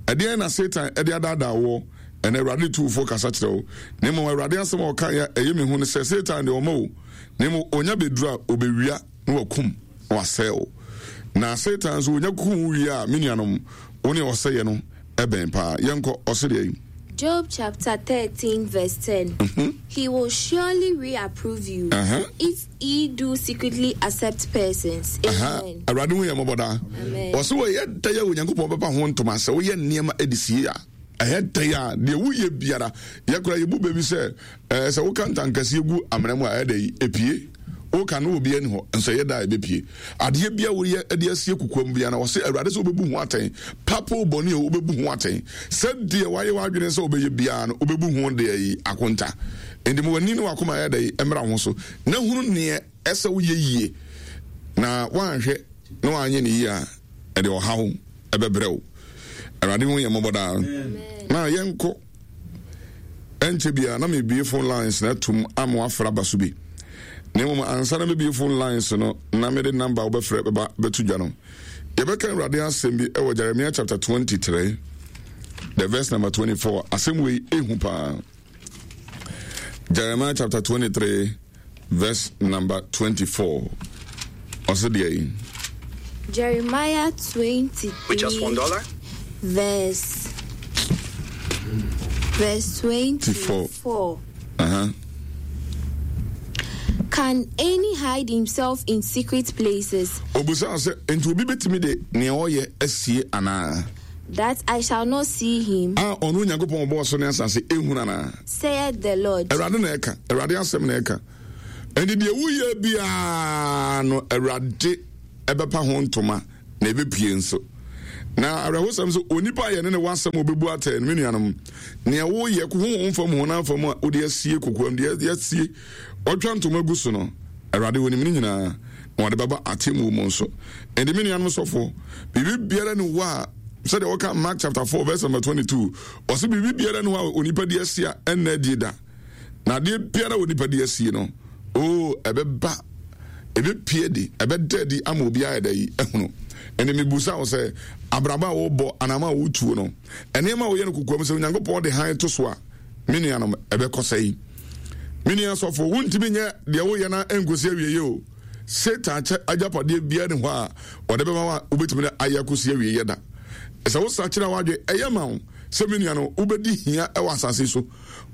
Ɛdeɛ na Satan ɛde adaadaa woɔ. Ɛnna Awurade tu wo fo kasa kyerɛ wo. Na mmom Awurade asɛm a ɔkaeɛ a ɛyɛ me hu ne sɛ, Satan deɛ ɔmma o, na mmom ɔnya bɛduru a, ɔbɛwia na wakum na wasɛe wo. Na Satan nso ɔnya kum wo wie a, me nuanom, wo ne ɔsɛeɛ no bɛn paa. Yɛnkɔ, ɔse deɛn? Job chapter 13 verse 10. He will surely reapprove you if ye do secretly accept persons. Amen. Awurade hu yɛn mmɔbɔ daa. Ɔse wɔyɛ dɛn a Onyankopɔn bɛpa ho ntoma sɛ woyɛ nneɛma de sie a. Ɛyɛ dɛn a, deɛ woyɛ biara, yɛ koraa yɛbu bɛ bi sɛ, ɛɛ sɛ woka ntankɛseɛ gu amena mu a, ɛyɛ dɛn? Ɛpue. Woka no obi ani hɔ, nso ɛyɛ da a ɛbɛpue. Adeɛ bia woyɛ de asie kokoam biara, wɔse Awurade sɛ wobɛbu ho atɛn. Papa o, bɔne o, wobɛbu ho atɛn. Sɛdeɛ woayɛ w'adwene sɛ wobɛyɛ biara no, wobɛbu ho deɛ yi akonta. Enti ma w'ani ne w'akoma ɛyɛ dɛn? Ɛmmra ho so, na hunu neɛ ɛsɛ woyɛ yie. Na woanhwɛ na woanyɛ no yie a, ɛde ɔhaw ɛbɛbrɛ wo. Awurade hu yɛn mmɔbɔ daa. Na yɛnkɔ ɛnkyɛ biara na mebie phone lines na atum ama wafrɛ aba so bi. Na mmom ansa na mebie phone lines no na mede number a wobɛfrɛ bɛba bɛto dwa no. Yɛbɛka Awurade asɛm bi ɛwɔ Jeremiah chapter 23 the verse number 24. Asɛm wei ehu paa. Jeremiah chapter 23 verse number 24. Ɔsɛ deɛ yi. Jeremiah 23. With just $1? Verse verse 24. Can any hide himself in secret places? Obusaa sɛ, Enti obi betumi de nea ɔyɛ asie anaa? That I shall not see him. A ɔno Onyankopɔn ɔbɔɔ soro ne asase ehunu anaa? Saith the Lord. Awurade na ɛka, Awurade asɛm na ɛka. Enti deɛ woyɛ biara no, Awurade ɛbɛpa ho ntoma na ɛbɛpue nso. Na awerɛhosɛm sɛ onipa a yɛne ne wɔ asɛm a ɔbɛbu atɛn no, me nuanom, nea woyɛ honhom fam honam fam a wode asie kokoam deɛ asie ɔtwa ntoma gu so no, Awurade onim ne nyinaa na wɔde bɛba atemmuo mu nso. Enti me nuanom sɔfoɔ, biribi biara ni hɔ a sɛdeɛ wɔka Mark chapter 4 verse number 22, ɔse biribi biara ni hɔ a onipa de asie a ɛnna adie da. Na adeɛ biara a onipa de asie no, oo, ɛbɛba, ɛbɛpue adi, ɛbɛda adi ama obiara ayɛ dɛ yi ahunu. Ɛnna mebusa wo sɛ, abrabɔ a wobɔ, anam a wotuo no, nneɛma a woyɛ no kokoam sɛ Onyankopɔn de hann to so a, me nuanom, ɛbɛkɔ sɛe. Me nua sɔfo, wontumi nyɛ deɛ woyɛ na ɛnkɔsi awieeɛ o. Satan kyɛ agyapadeɛ biara ni hɔ a ɔde bɛma wo a wobɛtumi de ayɛ akɔsi awieeɛ da. Sɛ wosakyera w'adwene, ɛyɛ ma wo sɛ me nua no, wobɛdi hia wɔ asase so.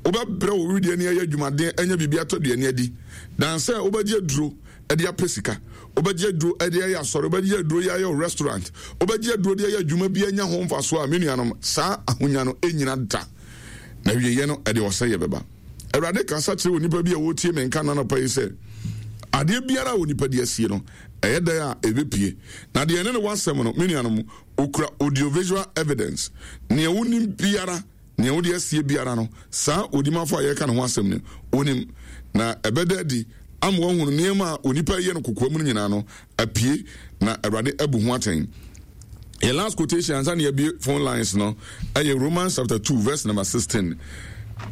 Wobɛbrɛ wo wedeɛ ani ayɛ adwumaden anya biribi atɔ aduane adi, dan sɛ wobɛgye aduro de apɛ sika, wobɛgye aduro de ayɛ asɔre, wobɛgye aduro de ayɛ wo restaurant, wobɛgye aduro de ayɛ adwuma bi anya ho mfasoɔ a, me nuanom, saa ahonya no ɛnyina da, na wieɛ no ɛde ɔsɛeɛ bɛba. Awurade kasa kyerɛ onipa bi a ɔretie me nka nnanɔpa yi sɛ, adeɛ biara a onipa de asie no, ɛyɛ dan a ɛbɛpue. Na deɛ ɛne no wɔ asɛm no, me nuanom, ɔkura audiovisual evidence. Nea wonim biara, Nea wode asie biara no, saa odimafo a yɛreka ne ho asɛm no, onim, na ɛbɛda adi ama wahunu nneɛma a onipa reyɛ no kokoam no nyinaa no apue, na Awurade abu ho atɛn. Yɛn last quotation ansa na yɛabue phone lines no ɛyɛ Romans chapter 2 verse number 16.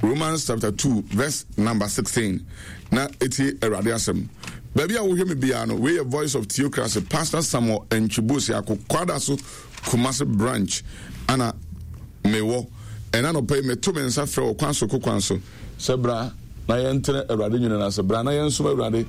Romans chapter 2 verse number 16. Na etie Awurade asɛm. Baabi a wohwɛ me biara no, wei yɛ Voice of Theocracy, Pastor Samuel Antwi Boasiako, Kwadaso Kumasi branch ana mewɔ. Ɛna anɔpa yi meto me nsa frɛ wɔ kwan so ko kwan so sɛ bra na yɛntena Awurade nwunu no ase, bra na yɛnsom Awurade,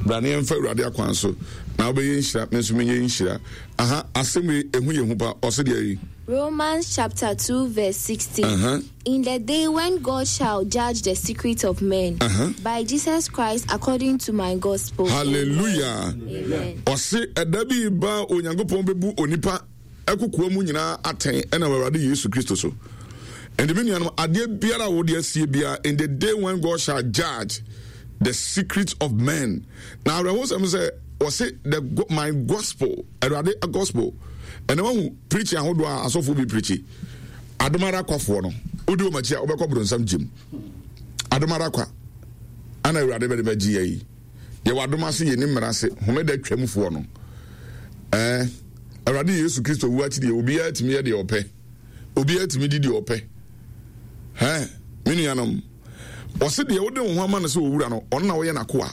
bra na yɛmfa Awurade akwan so, na wobɛyɛ nhyira, me nso menyɛ nhyira. Aha, asɛm wei ɛhu yɛ hu pa, ɔse deɛ yi. Romans chapter 2 verse 16. In the day when God shall judge the secret of men by Jesus Christ according to my gospel. Hallelujah. Amen. Ɔse ɛda bi ba Onyankopɔn bɛbu onipa ɛkokoa mu nyinaa atɛn ɛnam Awurade Yesu Kristo so. Ɛnti me nuanom adeɛ biara a wode asie biara in the day when God shall judge the secret of men. Na awerɛhosɛm sɛ ɔse the my gospel Awurade gospel ɛna wahu preaching ahodoɔ a asɔfoɔ bi preachi Adom ara kwa foɔ no, wodi wɔn akyi a wobɛkɔ bronsam gyem. Adom ara kwa ana Awurade bɛde bɛgye yɛ yi. Yɛwɔ adom ase yɛni mmara ase homeda twam foɔ no. Ɛɛ Awurade Yesu Kristo wu akyi deɛ obiara tumi yɛ deɛ ɔpɛ. Obiara tumi di deɛ ɔpɛ. Hɛn, me nuanom, ɔse deɛ wode wo ho ama no sɛ owura no, ɔno na woyɛ n'akoa.